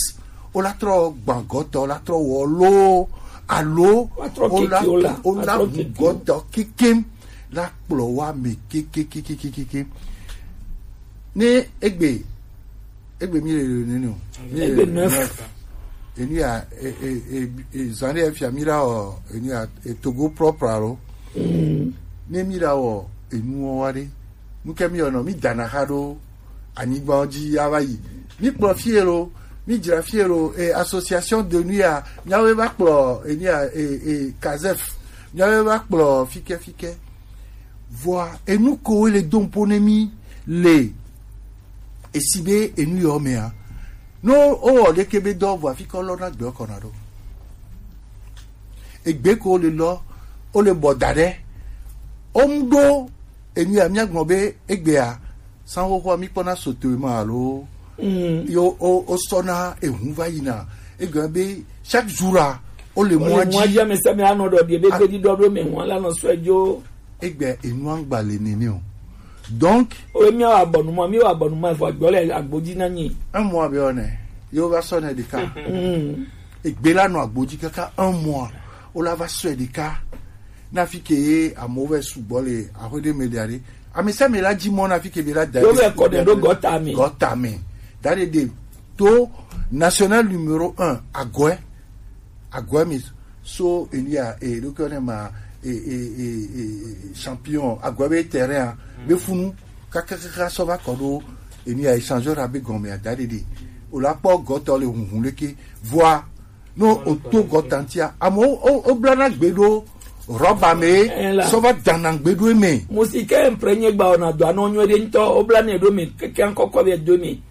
o la trɔ gbã gɔtɔ la trɔ wɔ loo alo o la o la hu gɔtɔ kekem la kplɔ wa me kekekekekekem. Ne egbe egbe mi le le nene o mi le le neuf. Enu ya e e e e zan ɖe fia mi la o enu ya e Togo propre alo ne mi la o enu wa ɖe nu ke mi yɔ nɔ mi dana xa ɖo anyigba dzi ya va yi. Mi kplɔ fie lo, mi dzra fie lo, e association de nuit ya, miawoe va kplɔ enu ya e e kazef, miawoe va kplɔ fike fike. Vɔa enu ko le do ŋpo ne mi le esi be enu yɔ mea, no o wɔ ɖeke be dɔ vɔa fi kɔ lɔ na gbe kɔ na ɖo. Egbe ko le lɔ, o le bɔ da ɖe, o mu ɖo enu ya mia gblɔ be egbea sanwó xoxoa mi kpɔna soto ma alo yo o o sɔna ehu va yina egbe be chaque jour a o le mɔ dzi ame sɛ mi anɔ dɔ bi ebe gbedi dɔ do me hu ala nɔ sɔ edzo egbe enu angba le nene o. Donc o mi wa bɔnu ma mi wa bɔnu ma fɔ gbɔ le agbodzi na nyi un mois be one yo va sɔ ne ɖeka egbe la nɔ agbodzi kaka un mois o la va sɔ ɖeka na fi ke ye amewo vɛ sugbɔ le aƒe ɖe me ɖia ɖe ame sia ame la dzi mɔ na fi ke be la da yo vɛ kɔ ɖe ɖo gɔta me gɔta me da ɖe ɖe to national numéro un agɔɛ agɔɛ me so elia e ɖo ke ne ma e e e e champion agɔɛ be terrain a be funu kakakaka sɔ va kɔ ɖo elia échangeur a be gɔme a da ɖe ɖe o la kpɔ gɔtɔ le hunhun leke vɔa no o to gɔtantia amewo o o blana gbe ɖo rɔba me sɔ va dana gbe ɖo eme. Mo si ke mprenye gba ona do anɔ nyuie ɖe ŋutɔ o blana ɖo me keke ŋkɔkɔ be do me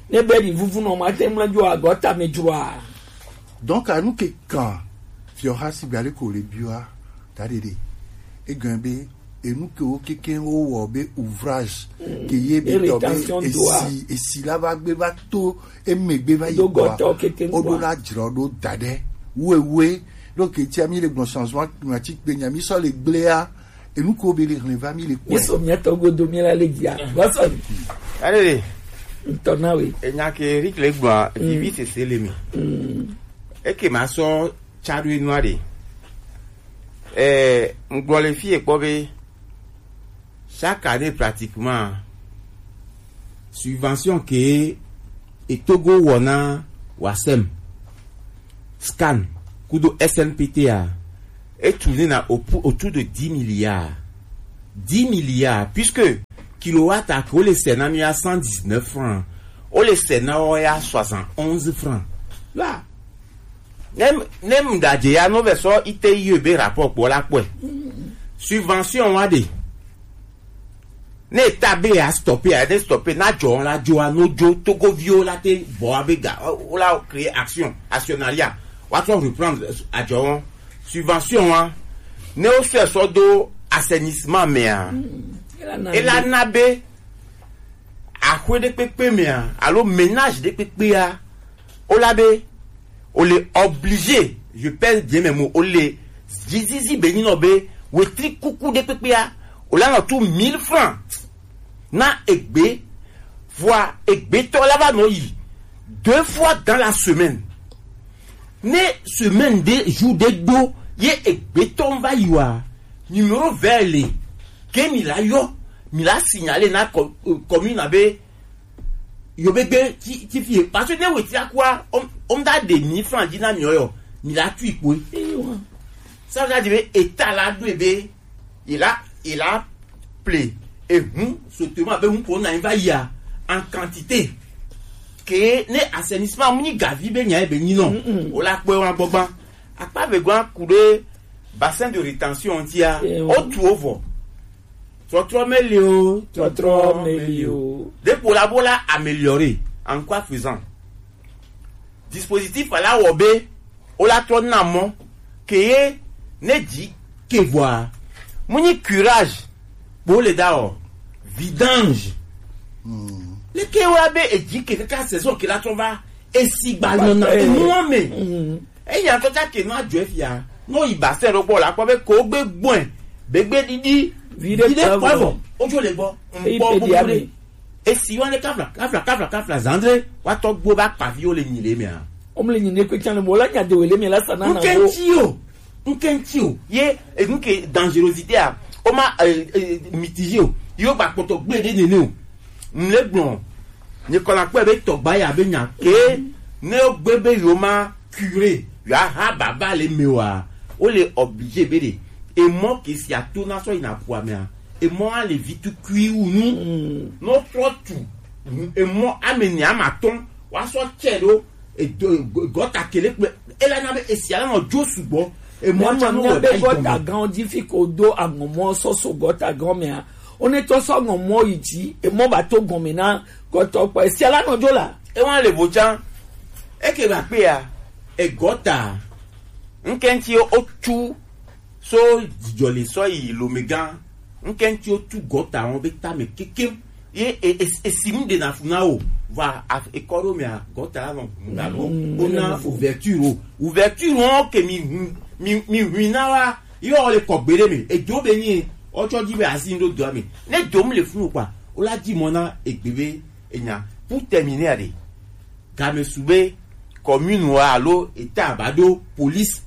ne be ɖi vuvu nɔ ma te ŋlɔ dzo agɔta me dzroa. Donc anu ke kan fiɔ ha si gba le ko le bioa ta ɖe ɖe egɔn be enu ke wo keke wo wɔ be ouvrage ke ye be tɔ be esi esi la va gbe va to emegbe va yi kɔa o ɖo la dzrɔ ɖo da ɖe wewe ɖo ke tia mi le gbɔn changement climatique be nya mi sɔ le gblea enu ko be le hlɛ va mi le kpɔe. Yesu mi tɔ godo mi la le dzia gbɔsɔ mi. Ale le ntɔ na we. Enya ke Eric le gbɔn vivi sese le mi. Eke ma sɔ tsa ɖo enua ɖe. Ɛɛ ŋgblɔ le fi ekpɔ be chaque année pratiquement Subvention ke e Togo wɔ na Wasem, Scan kudo S N P T a, e tourner na au pou-, autour de dix milliards. Dix milliards, puisque kilowatt a ke o le sɛ na mi ya cent dix-neuf francs, o le sɛ na wɔ ya soixante-onze francs. Là, ne, ne mu da je ya no vɛ sɔ ite yi be rapport kpɔ la kpɔe. Subvention wa de. Ne État be ya stopper a, ne stopper, na jɔ la jɔ a, no jo Togoviwo la te bɔ a be ga, o la créer action, actionnariat, wa trɔ reprendre ajɔ, subvention wa, ne o sɛ sɔ do assainissement mɛ a, e la na be axwe ɖe kpekpe mɛ a, alo ménage ɖe kpekpe a, o la be o le obligé, je pèse bien mes mots, o le zizizi be nyi nɔ be wetri kuku ɖe kpekpea, o la nɔ tu mille francs na egbe, vɔa egbetɔ la va nɔ yi deux fois dans la semaine. Ne semaine ɖe, jour ɖe do ye egbetɔ va yi wa, numéro vert le, ke mi la yɔ, mi la signaler na co-, euh, commune a be yo be gbe ti, ti fie. Parce que ne wetri akua, o, o da de mille francs dzi na mi yɔ, mi la tui kpoe. Ça veut dire be État la do be, il a, il a ple, et hum, surtout be hum ko na va ya en quantité. Ke ne assainissement mu ni gavi be nya be ni non. O la kpoe wa gbogban. Akpa be gwa kude bassin de rétention ti a. O tu ovo. Trɔtrɔ meli o, trɔtrɔ meli o. Depo la bo la améliorer. En quoi faisant? Dispositif la wɔ be o la trɔ na mɔ ke ye ne dzi ke vɔa. Mu ni curage bo le da o. Vidange. Le ke wa be edzi ke kaka saison ke la trɔ va. Esi gba nɔ na enuɔ me. Eya tɔ ta ke nɔ adzɔ efia. Nɔ yi basɛ ɖo gbɔ la kpɔ be ko gbe gbɔɛ. Be gbe ɖiɖi. Vi ɖe kpɔ vɔ. Ojo le gbɔ. Nkpɔ gbogbo ɖe. Esi wa ne kafla, kafla, kafla, kafla, zandre. Wa tɔ gbo ba kpavi o le nyi le mea. O mu le nyi ne kpe can le mo la nya de we le mi la sana na wo. Nkɛntsi o. Nkɛntsi o. Ye, e, nke dangerosité a. O ma, e, e, mitigé o. Yo gba kpɔtɔ gbe ɖe nene o. N le gblɔ. Nye kɔ la kpɔe be tɔgba ya be nya ke ne o gbe be yo ma curé, yo aha baba le me wa, o le obligé be de. E mɔ ke si ato na sɔ yina ƒua mea, e mɔ a le vi tu kui wu nu. No trɔ tu. E mɔ ame ne ama tɔn wa sɔ tsɛ ɖo. Edo gɔta kele kpe. Ela na be esia la nɔ jo sugbɔ. Emɔ tsa no wɔ da yi gɔme. Gɔta gãwo dzi fi ko do aŋɔmɔ sɔ so gɔta gãwo mea. Wo ne tɔ sɔ aŋɔmɔ yi dzi, emɔ ba to gɔme na gɔtɔ kpɔ. Esia la nɔ jo la. Ewa le bo tsa. Eke ba kpe ya. Egɔta. Nkɛntsi o tu so dzidzɔ le sɔ yi lomegã. Nkɛntsi o tu gɔta wɔn be tame kekem. Ye e, e, e, esi nu ɖe na fu na o. Va ekɔ ɖo mea gɔta la nɔ ŋu na lo. O na ouverture o. Ouverture wɔn ke mi hu, mi, mi hui na wa. Yɔ le kɔ gbe ɖe me. Edzo be nyi. Ɔtsɔ dzi be asi ŋɖo doa me. Ne dom le funu kpa. O la dzi mɔ na egbe be enya. Pour terminer aɖe. Game su be commune wa alo eta ba ɖo police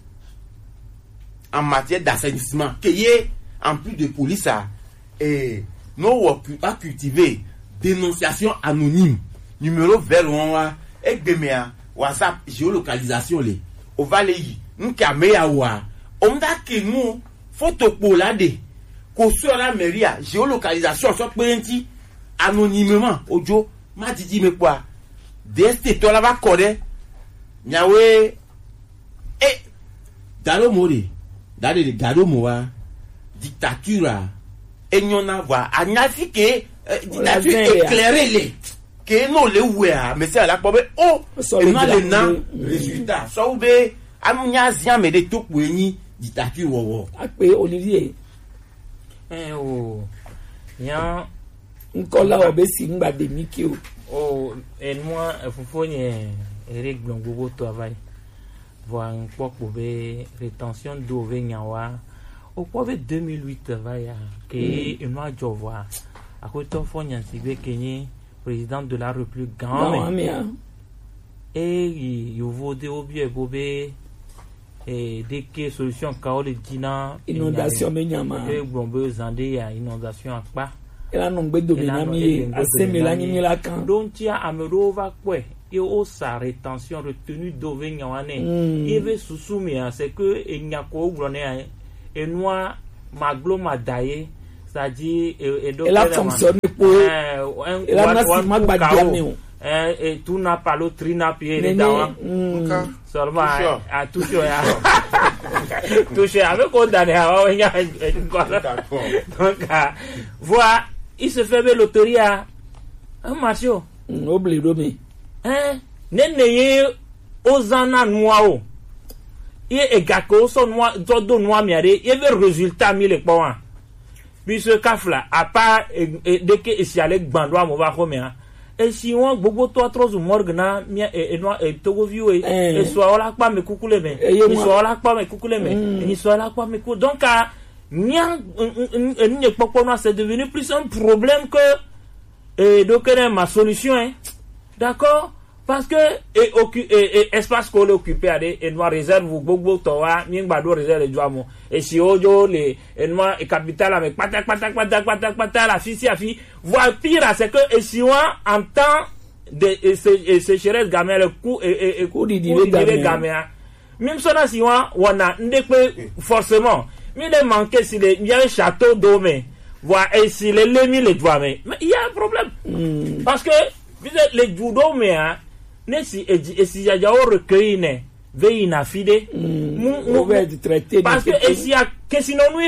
en matière d'assainissement. Ke ye, en plus de police a, eh, no wɔ cu-, a cultiver dénonciation anonyme. Numéro vert wɔn wa, egbe mea, WhatsApp, géolocalisation le. O va le yi, nke ame ya wa. O mda ke nu, photo kpo la de. Ko sɔ la mairie a, géolocalisation sɔ kpe ŋti, anonymement, ojo, ma didi me kpɔa. D S T tɔ la va kɔ ɖe. Miawe, e, da ɖo mo ɖe, da ɖe ɖe, da ɖo mo wa, dictature a, enyɔ na vɔa, anya fi ke, eh, dictature éclairée le, ke no le wea, mais c'est à la kpɔ be, o, ena le na résultat, sɔ wu be, anu nya zia me ɖe to kpo enyi dictature wɔwɔ. Akpe Olivier. Ɛ o, nya ŋkɔ la wɔ be si ŋgba de mi ke o. O, enua, efofo nye ere gblɔ gbogbo tɔ ava yi. Vɔa ŋkpɔ kpo be rétention d'eau ve nya wa. O kpɔ be deux mille huit va ya. Ke enua jɔ vɔa. Akwetɔ fɔ nyansi be ke nye président de la République gã me. Gã me a. Eyi yovo de wo biɛ bo be, eh, ɖeke solution ka wo le dzi na inondation be nya ma. E gblɔ be zan ɖe ya inondation akpa. Ela nɔ ŋgbe dome na mi ye, aseme la nyi mi la kan. Ɖo ŋutia ame ɖewo va kpɔe ye wosa rétention, retenue d'eau ve nya wa nɛ. Ye ve susu mea, c'est que enya ko wogblɔ nɛ ya, enua maglo mada ye, c'est-à-dire e- eɖo ela fonctionne kpo ye. Ela na si ma gba dia me o. Eh, et tout n'a pas le tri n'a pied les dawa. Seulement, à toucher ya. Toucher avec on dane awa nya. Donc, voilà, il se fait be loterie à un marché. Obli do mi. Hein? Nene ye ozana nua o. Ye egake oso nua, todo nua mi ade, ye ve résultat mi le kpɔ wa. Puisque kafla, à part, eh, eh, dès que esi ale gbando amo va xɔmea, esi wɔn gbogbo to atrɔ zu morgue na mia, eh, eh, nua, eh, togoviwo ye. Esu awo la kpa me kuku le me. Esu awo la kpa me kuku le me. Esu awo la kpa me kuku. Donc, ah, mia, n- n- n- n- nye kpɔkpɔ nua, c'est devenu plus un problème que, eh, donc, eh, ma solution, hein. D'accord? Parce que, eh, occu- eh, eh, espace qu'on occupe à des, et noir réserve ou gbogbo towa, mi ngba do réserve de joamo. Et si ojo le, et noir, et capital, avec pata, pata, pata, pata, pata, la fi, si, la fi. Voire pire, c'est que, et si on entend de, et sé- et sécheresse, gamin, le coup, et, et, et Coup di di coup le di le gamin. Gamin, hein. Même ça, si on, on a, on est forcément. Mais les manquer, si les, il y a un château d'eau, mais, voilà, et si les, les mille, les doigts, mais, mais il y a un problème. Parce que, vous êtes les judo, mais, hein, ne si, et, et si, il y a un recueil, ne, veille, na fide. Mu- mu- Obe mu- di traité. Parce que, et si, il y a, que sinon, nous,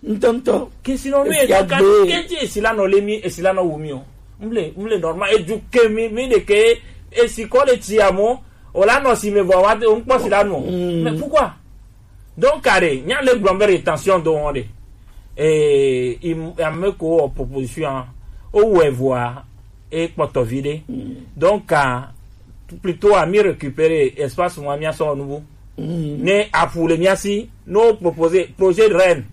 Ntɔntɔ. Kesi nɔ nu Esi ye kan agbe. Keti esi la nɔ le mi, esi la nɔ wu mi o. Mle, mle normal, edu ke mi, mi de ke, esi kɔ le ti amo, o la nɔ si me vɔ wa de, o nkpɔ si la nɔ. Mais pourquoi? Donc, kare, nya le gblɔ be rétention do wɔn de. Eh, il y a me ko proposition, o wɛ voa, e kpɔtɔ vi de. Donc, ah, plutôt à mi récupérer espace moi mi asɔ nubu. Ne aƒu le mia si, no proposer projet de Rennes.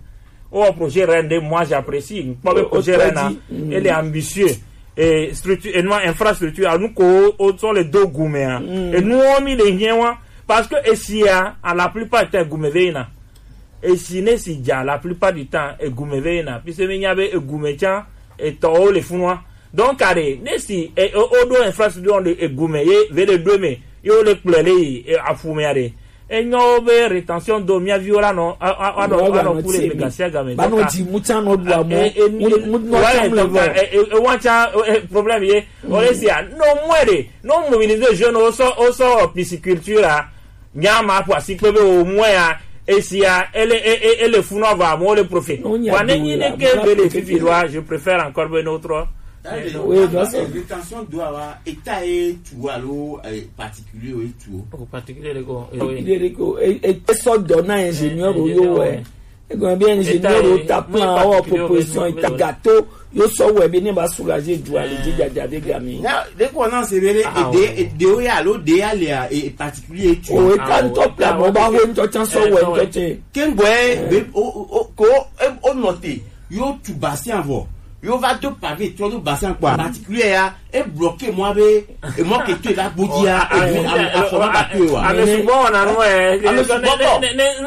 Oh, projet Rennes de, moi j'apprécie. Kpɔ be projet Rennes, hein, il est ambitieux. Et structure, et non, infrastructure, à nous ko, o tsɔ le do gume, hein. Et nous, on mi le hien wa. Parce que ici, hein, à la plupart du temps, gume veina. Et si ne si dza, la plupart du temps, et gume veina. Puisque mi nya be, et gume tsa, et to le funwa. Donc, allez, ne si, et, o, o do infrastructure de, et gume, ye, ve le do me, yo le kple le, et afume, allez. Enyo be rétention do mia viwo la no, a, a, a, no, a, no, kule me gasia game. Ba no di muta no do amo. Mu, mu, no, ouais, tam le donc, vo. E, e, e, wan tsa, e, e, problème ye. O le si a, no, mwere, no, mobiliser jeune, o so, o so, pisciculture, a. Nya ma po asi pe be o mwe a, esi a, ele, e, e, ele funu ava, mo le profit. No, nya wa ne do nyi la, ne ke mo la be le profit fifi lo. Loi, je préfère encore be notre. Oui, donc, rétention doit avoir état et tout, alors, euh, particulier et tout. Au particulier, d'accord. Particulier, d'accord. Et, et, et ça donne à ingénieur, oui, oui. Ego bien ingénieur, état, o ta plan, o proposition, état gâteau, yo so we bi ne ba soulager du ale di dada de gami. Na, de ko na se bele, ede, ede o ya lo de ale a, e particulier tu. O état nto plan, mo ba we nto chan so we nto che. Kengwe, be, o, o, o, ko, e, o note, yo tu basi anvo. Yo va do pavé, to do basi anpo. Particulier ya, e bloqué moi be, e moi ke to la bodi ya, e bi a, a, a, fo ma ba to wa. Ame sugbɔ wɔna nu ɛ. Ame sugbɔ bɔ.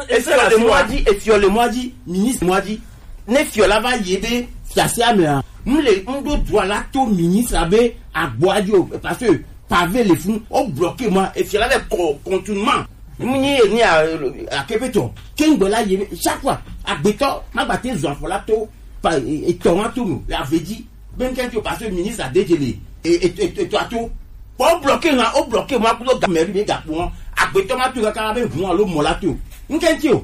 Esi le moi di, esi le moi di, ministre moi di. Ne fiɔ la va yi be fiase ame a. M le, m do droit la to ministre be agbo a di o, parce que pavé le fun, o bloqué moi, e fiɔ la be co-, contournement. M nyi e ni a, a kepeto. Kengbe la yi be, chaque fois, agbetɔ, ma gba te zɔ afɔ la to, pa, e, e tɔ wa to no, la veut dire, ben, kɛntɛ o, parce que ministre a dégelé. Et, et, et, et toi, tout. Bon, o bloqué, hein, o bloqué, moi, pour le gars, mais lui, les gars, bon, agbetɔ ma tu kaka be hun alo mɔ la tu. N kɛntɛ o.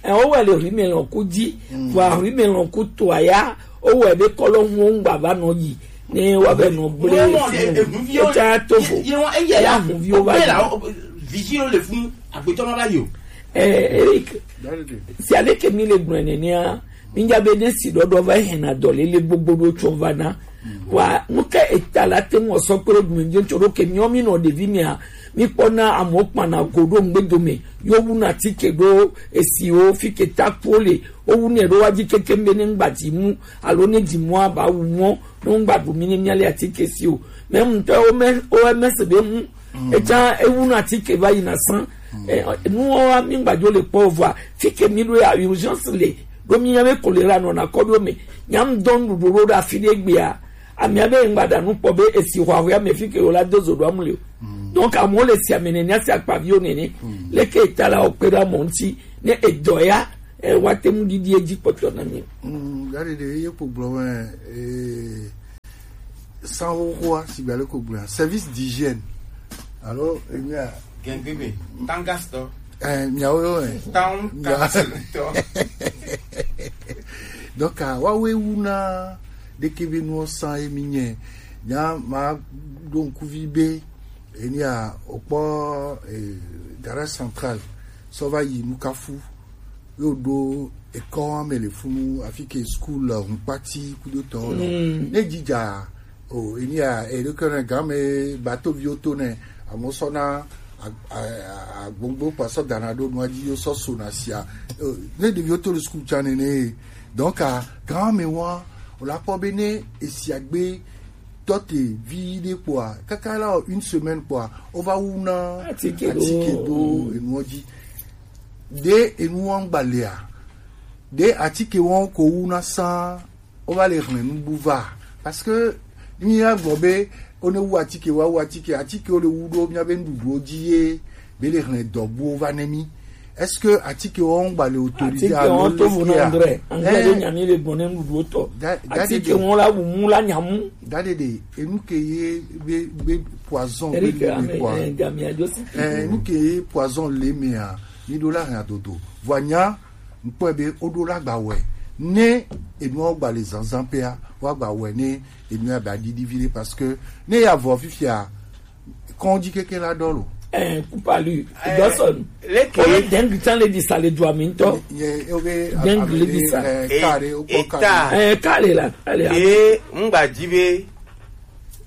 Ɛ, o wɛ le ri me lɔn ku di, wa ri me lɔn ku to aya, o wɛ be kɔlɔ ŋu ŋgba va nɔ yi. Ne wa be nɔ gble. Mo, mo, e, e, hun vi o. E ta to fo. Ye, ye, wa, e, ye, ya hun vi o va. O, o, vigile le fun, agbetɔ ma va yi o. Eh, Eric, si ale ke mi le gblɔe nenea, mi nya be ne si ɖɔɖɔ va hɛna dɔléle gbogbo ɖo tsɔ va na. Wa, nu ka eta la te ŋu sɔ kple ɖu mi ŋutsu ɖo ke miɔ mi nɔ ɖevi mia, mi kpɔna amewo kpana go ɖo ŋgbe dome, yo wuna tike ɖo esiwo fi ke ta kpo le, wo wunɛ ɖo wa dzi keke be ne ŋgba dzi mu, alo ne dzi mu aba wu mɔ, ne ŋgba ɖu mi ne mia le atike si o. Mais ŋutɔ wo me, wo me se be ŋu, Etsã ewu na atike va yina sã. Eh, nuwo wa mi ŋgbadzo le kpɔ vɔa. Fi ke mi ɖo ya urgence le. Ɖo mi nya be kolera nɔna kɔ ɖo me. Nya ŋdɔ nuɖuɖu ɖo ɖe afi ɖe gbea. Amia be ŋgba ɖa nu kpɔ be esi hwahwea me fi ke wo la do zo ɖo amu le o. Donc amewo le sia me nene, si akpaviwo nene. Leke eta la wo kpe ɖe amewo ŋuti ne edɔ ya, e, wa te ŋu ɖiɖi edzi kpɔtɔ na mi. Mm, gaɖeɖe ye kpo gblɔ me, eh, sanwó xoa, sigba le ko gblɔa, service d'hygiène. Alo, emia. Gɛngbebe, tangas tɔ. Eh, miawo yo, eh. Town Mia- council tɔ. Donc, ah, wa we wu na ɖeke be nuwo san ye mi nye. Nya ma ɖo ŋkuvi be, enia, okpɔ, eh, garage central, sɔ va yi Nukafu. Yo ɖo ekɔ me le funu afi ke school, eh, hunkpati kudo tɔ lɔ. Ne jija o, enia, e ɖo ke ne game bateau viwo to ne, amo sɔ na a-, a-, a-, agbongbo kpa sɔ dana ɖo nua dzi yo sɔ so na sia. O, ne ɖeviwo to le school tsa nene. Donc, a, game wa, o la kpɔ be ne esia gbe tɔ te vi ɖe kpɔa, kaka la o une semaine kpɔa, o va wu na Atike ɖo. Atike ɖo enuɔ dzi. Ɖe enu wɔn gbalea, ɖe atike wɔn ko wu na san, o va le hlẽ nubu va. Parce que mi ya gbɔ be o ne wu atike wa wu atike, atike o le wu ɖo mia be nuɖuɖuwo dzi ye be le hlẽ dɔbuwo va ne mi. Est-ce que atike wɔn gba le autorisé? Atike alo wɔn to vo na leskia? Andre, Andre Eh. de nyami le gbɔn ne nuɖuɖuwo tɔ. Da-, da de Atike de. Wɔn la wu mu la nyamu. Gaɖeɖe, enu ke ye be, be poison be Eric, le ame, kwa. Eh, Damien Joseph. Eh, enu ke ye poison le mea, mi ɖo la hã dodo. Vɔ nya, ŋkpɔe be o ɖo la gba wɛ. Ne enu gba le zanzan pea, wa gba wɛ ne enu ya ba ɖiɖi vi ɖe parce que ne ya vɔ fifia, kɔn dzi keke la ɖɔ lo. Eh, kupalu, Eh, Dawson. Leke. Ole dengue tsan le di sa le dua mi ŋutɔ. Ye, ye, obe, Dengue le di sa. Eh, E-, kare, o kɔ eta. Kare. Eh, kare la, kare la. Ye, ŋgba dzi be,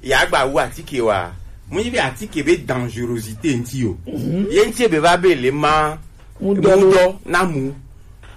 ya gba wu atike wa. Mu yi be atike be dangerosité ŋuti o. Ye ŋuti be va be le ma Mu dɔ lo. Mu dɔ na mu.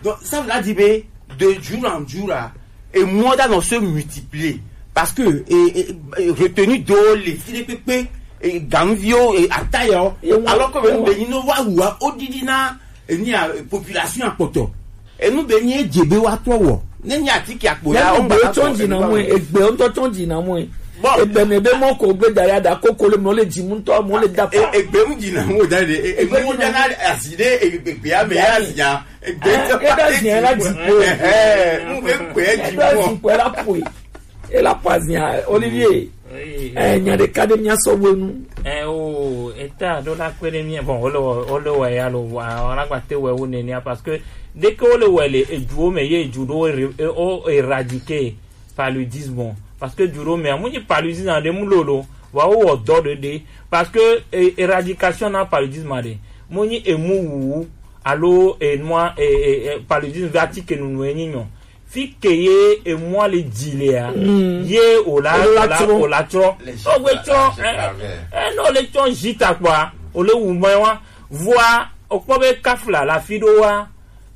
Donc, ça veut dire be de jour en jour, là, et moi, dans se multiplier. Parce que, et, et, et retenu do le fi de pepe, et ganvio, et atayo. Ye wa, Alors que ye wa. Be ni no wa wa, o didi na, et ni a population a poto. Et nous, be ni e djebe wa to wo. Ne ni atike akpo ya, Yango on be va tsɔn dzi na mɔ, egbe ŋutɔ tsɔn dzi na mɔ. Bon. Egbe me be mɔ ko gbe da ya da koko le mɔ le dzi mu ŋutɔ, mɔ le da E-, pa. Egbe mu dzi na mɔ da de, e-, egbe mu da na asi de, e-, egbe ya me ya si ya. Egbe Eh, ŋutɔ e da zi ya la dzi po. Eh, eh, mu be gbe dzi Eɖo po. Zi po la poe. E la pa zia, Olivier. Oui. Eh, nya ɖeka ɖe mia sɔ wo nu. Eh, o, eta ɖo la kpe ɖe mia, bon, wole wɔ, wole wɔ ya lo, wa, wala gba te wɔ wo nenia, parce que dès que wole wɔ le eduwo me, ye edu ɖo, e, o, éradiquer paludisme. Parce que du ɖo me, mu nyi paludisme ɖe mu lolo, wa wo wɔ dɔ ɖe ɖe. Parce que, e, éradication na paludisme ɖe, mu nyi emu wuwu, alo enua, e, e, e, paludisme ve atike nunu enyi nyɔ. Fi ke ye emua le dzi lea, ye o la, o la o la trɔ. O we trɔ, eh, eh, no le trɔ jita kpɔa, o le wu mɛ wa. Vɔa, o kpɔ be kafla la fi ɖo wa,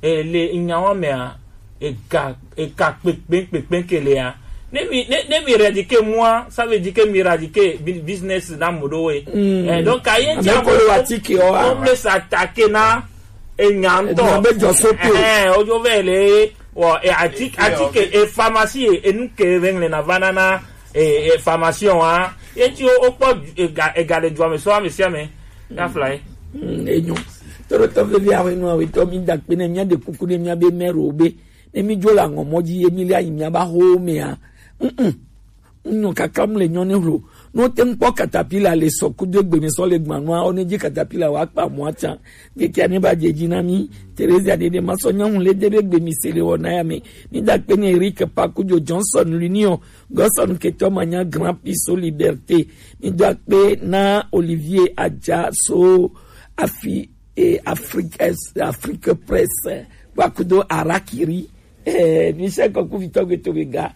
eh, le nyawa mea, e ga, e ga kpekpe, kpekpe ke lea. Ne mi, ne, ne mi éradiquer mua, ça veut dire que mi éradiquer bi-, business na mo ɖo we. Eh, donc, aye Ame ko le wa tike o wa. On peut s'attaquer na, e nya ŋutɔ. Enya be jɔ so pe. Eh, ojo ve le, wɔ, e ati-, atike, e pharmacie, e nu ke ve ŋle na va na na, e, e pharmacien wa. Ye ti o, o kpɔ, e ga, e ga le dua me so ame sia ame. Ya fly. Mm, enyo. Toro tɔ vevi awe nu awe tɔ mi da kpe ne mia de kuku ne mia be mero be. Ne mi jo la ŋɔ mɔ dzi ye mi le ayi mia ba ho mea. Mm-mm. Ŋu nyɔ kaka mu le nyɔ ne hlo. No te ŋkpɔ katapila le sɔ kudo egbe mi sɔ le gbanua, o ne dzi katapila wa kpa mɔ atsa. Gekia ne ba dze dzi na mi. Teresa ɖeɖe ma sɔ nyaŋu le de be gbe mi se le wɔ na ya me. Mi da kpe ne Eric Pakujo Johnson Lunion. Gɔsɔn ketɔ ma nya Grand Prix so Liberté. Mi da kpe na Olivier Adja so afi, eh, Afrique, eh, Afrique Presse. Wa kudo Arakiri. Eh, Michel Kɔkuvitɔ Gbetogbe ga.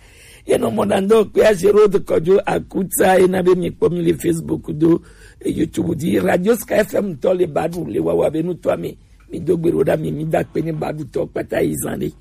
Ye nɔ mɔ na ŋdɔ kpea Gérard Kɔdzo Akutsa ye na be mi kpɔ mi le Facebook do, eh, YouTube di Radio Sky F M tɔ le baɖu le wawa be nutɔ ame. Mi do gbe ɖo ɖa mi, mi da kpe ne baɖu tɔ kpata yi zan ɖe.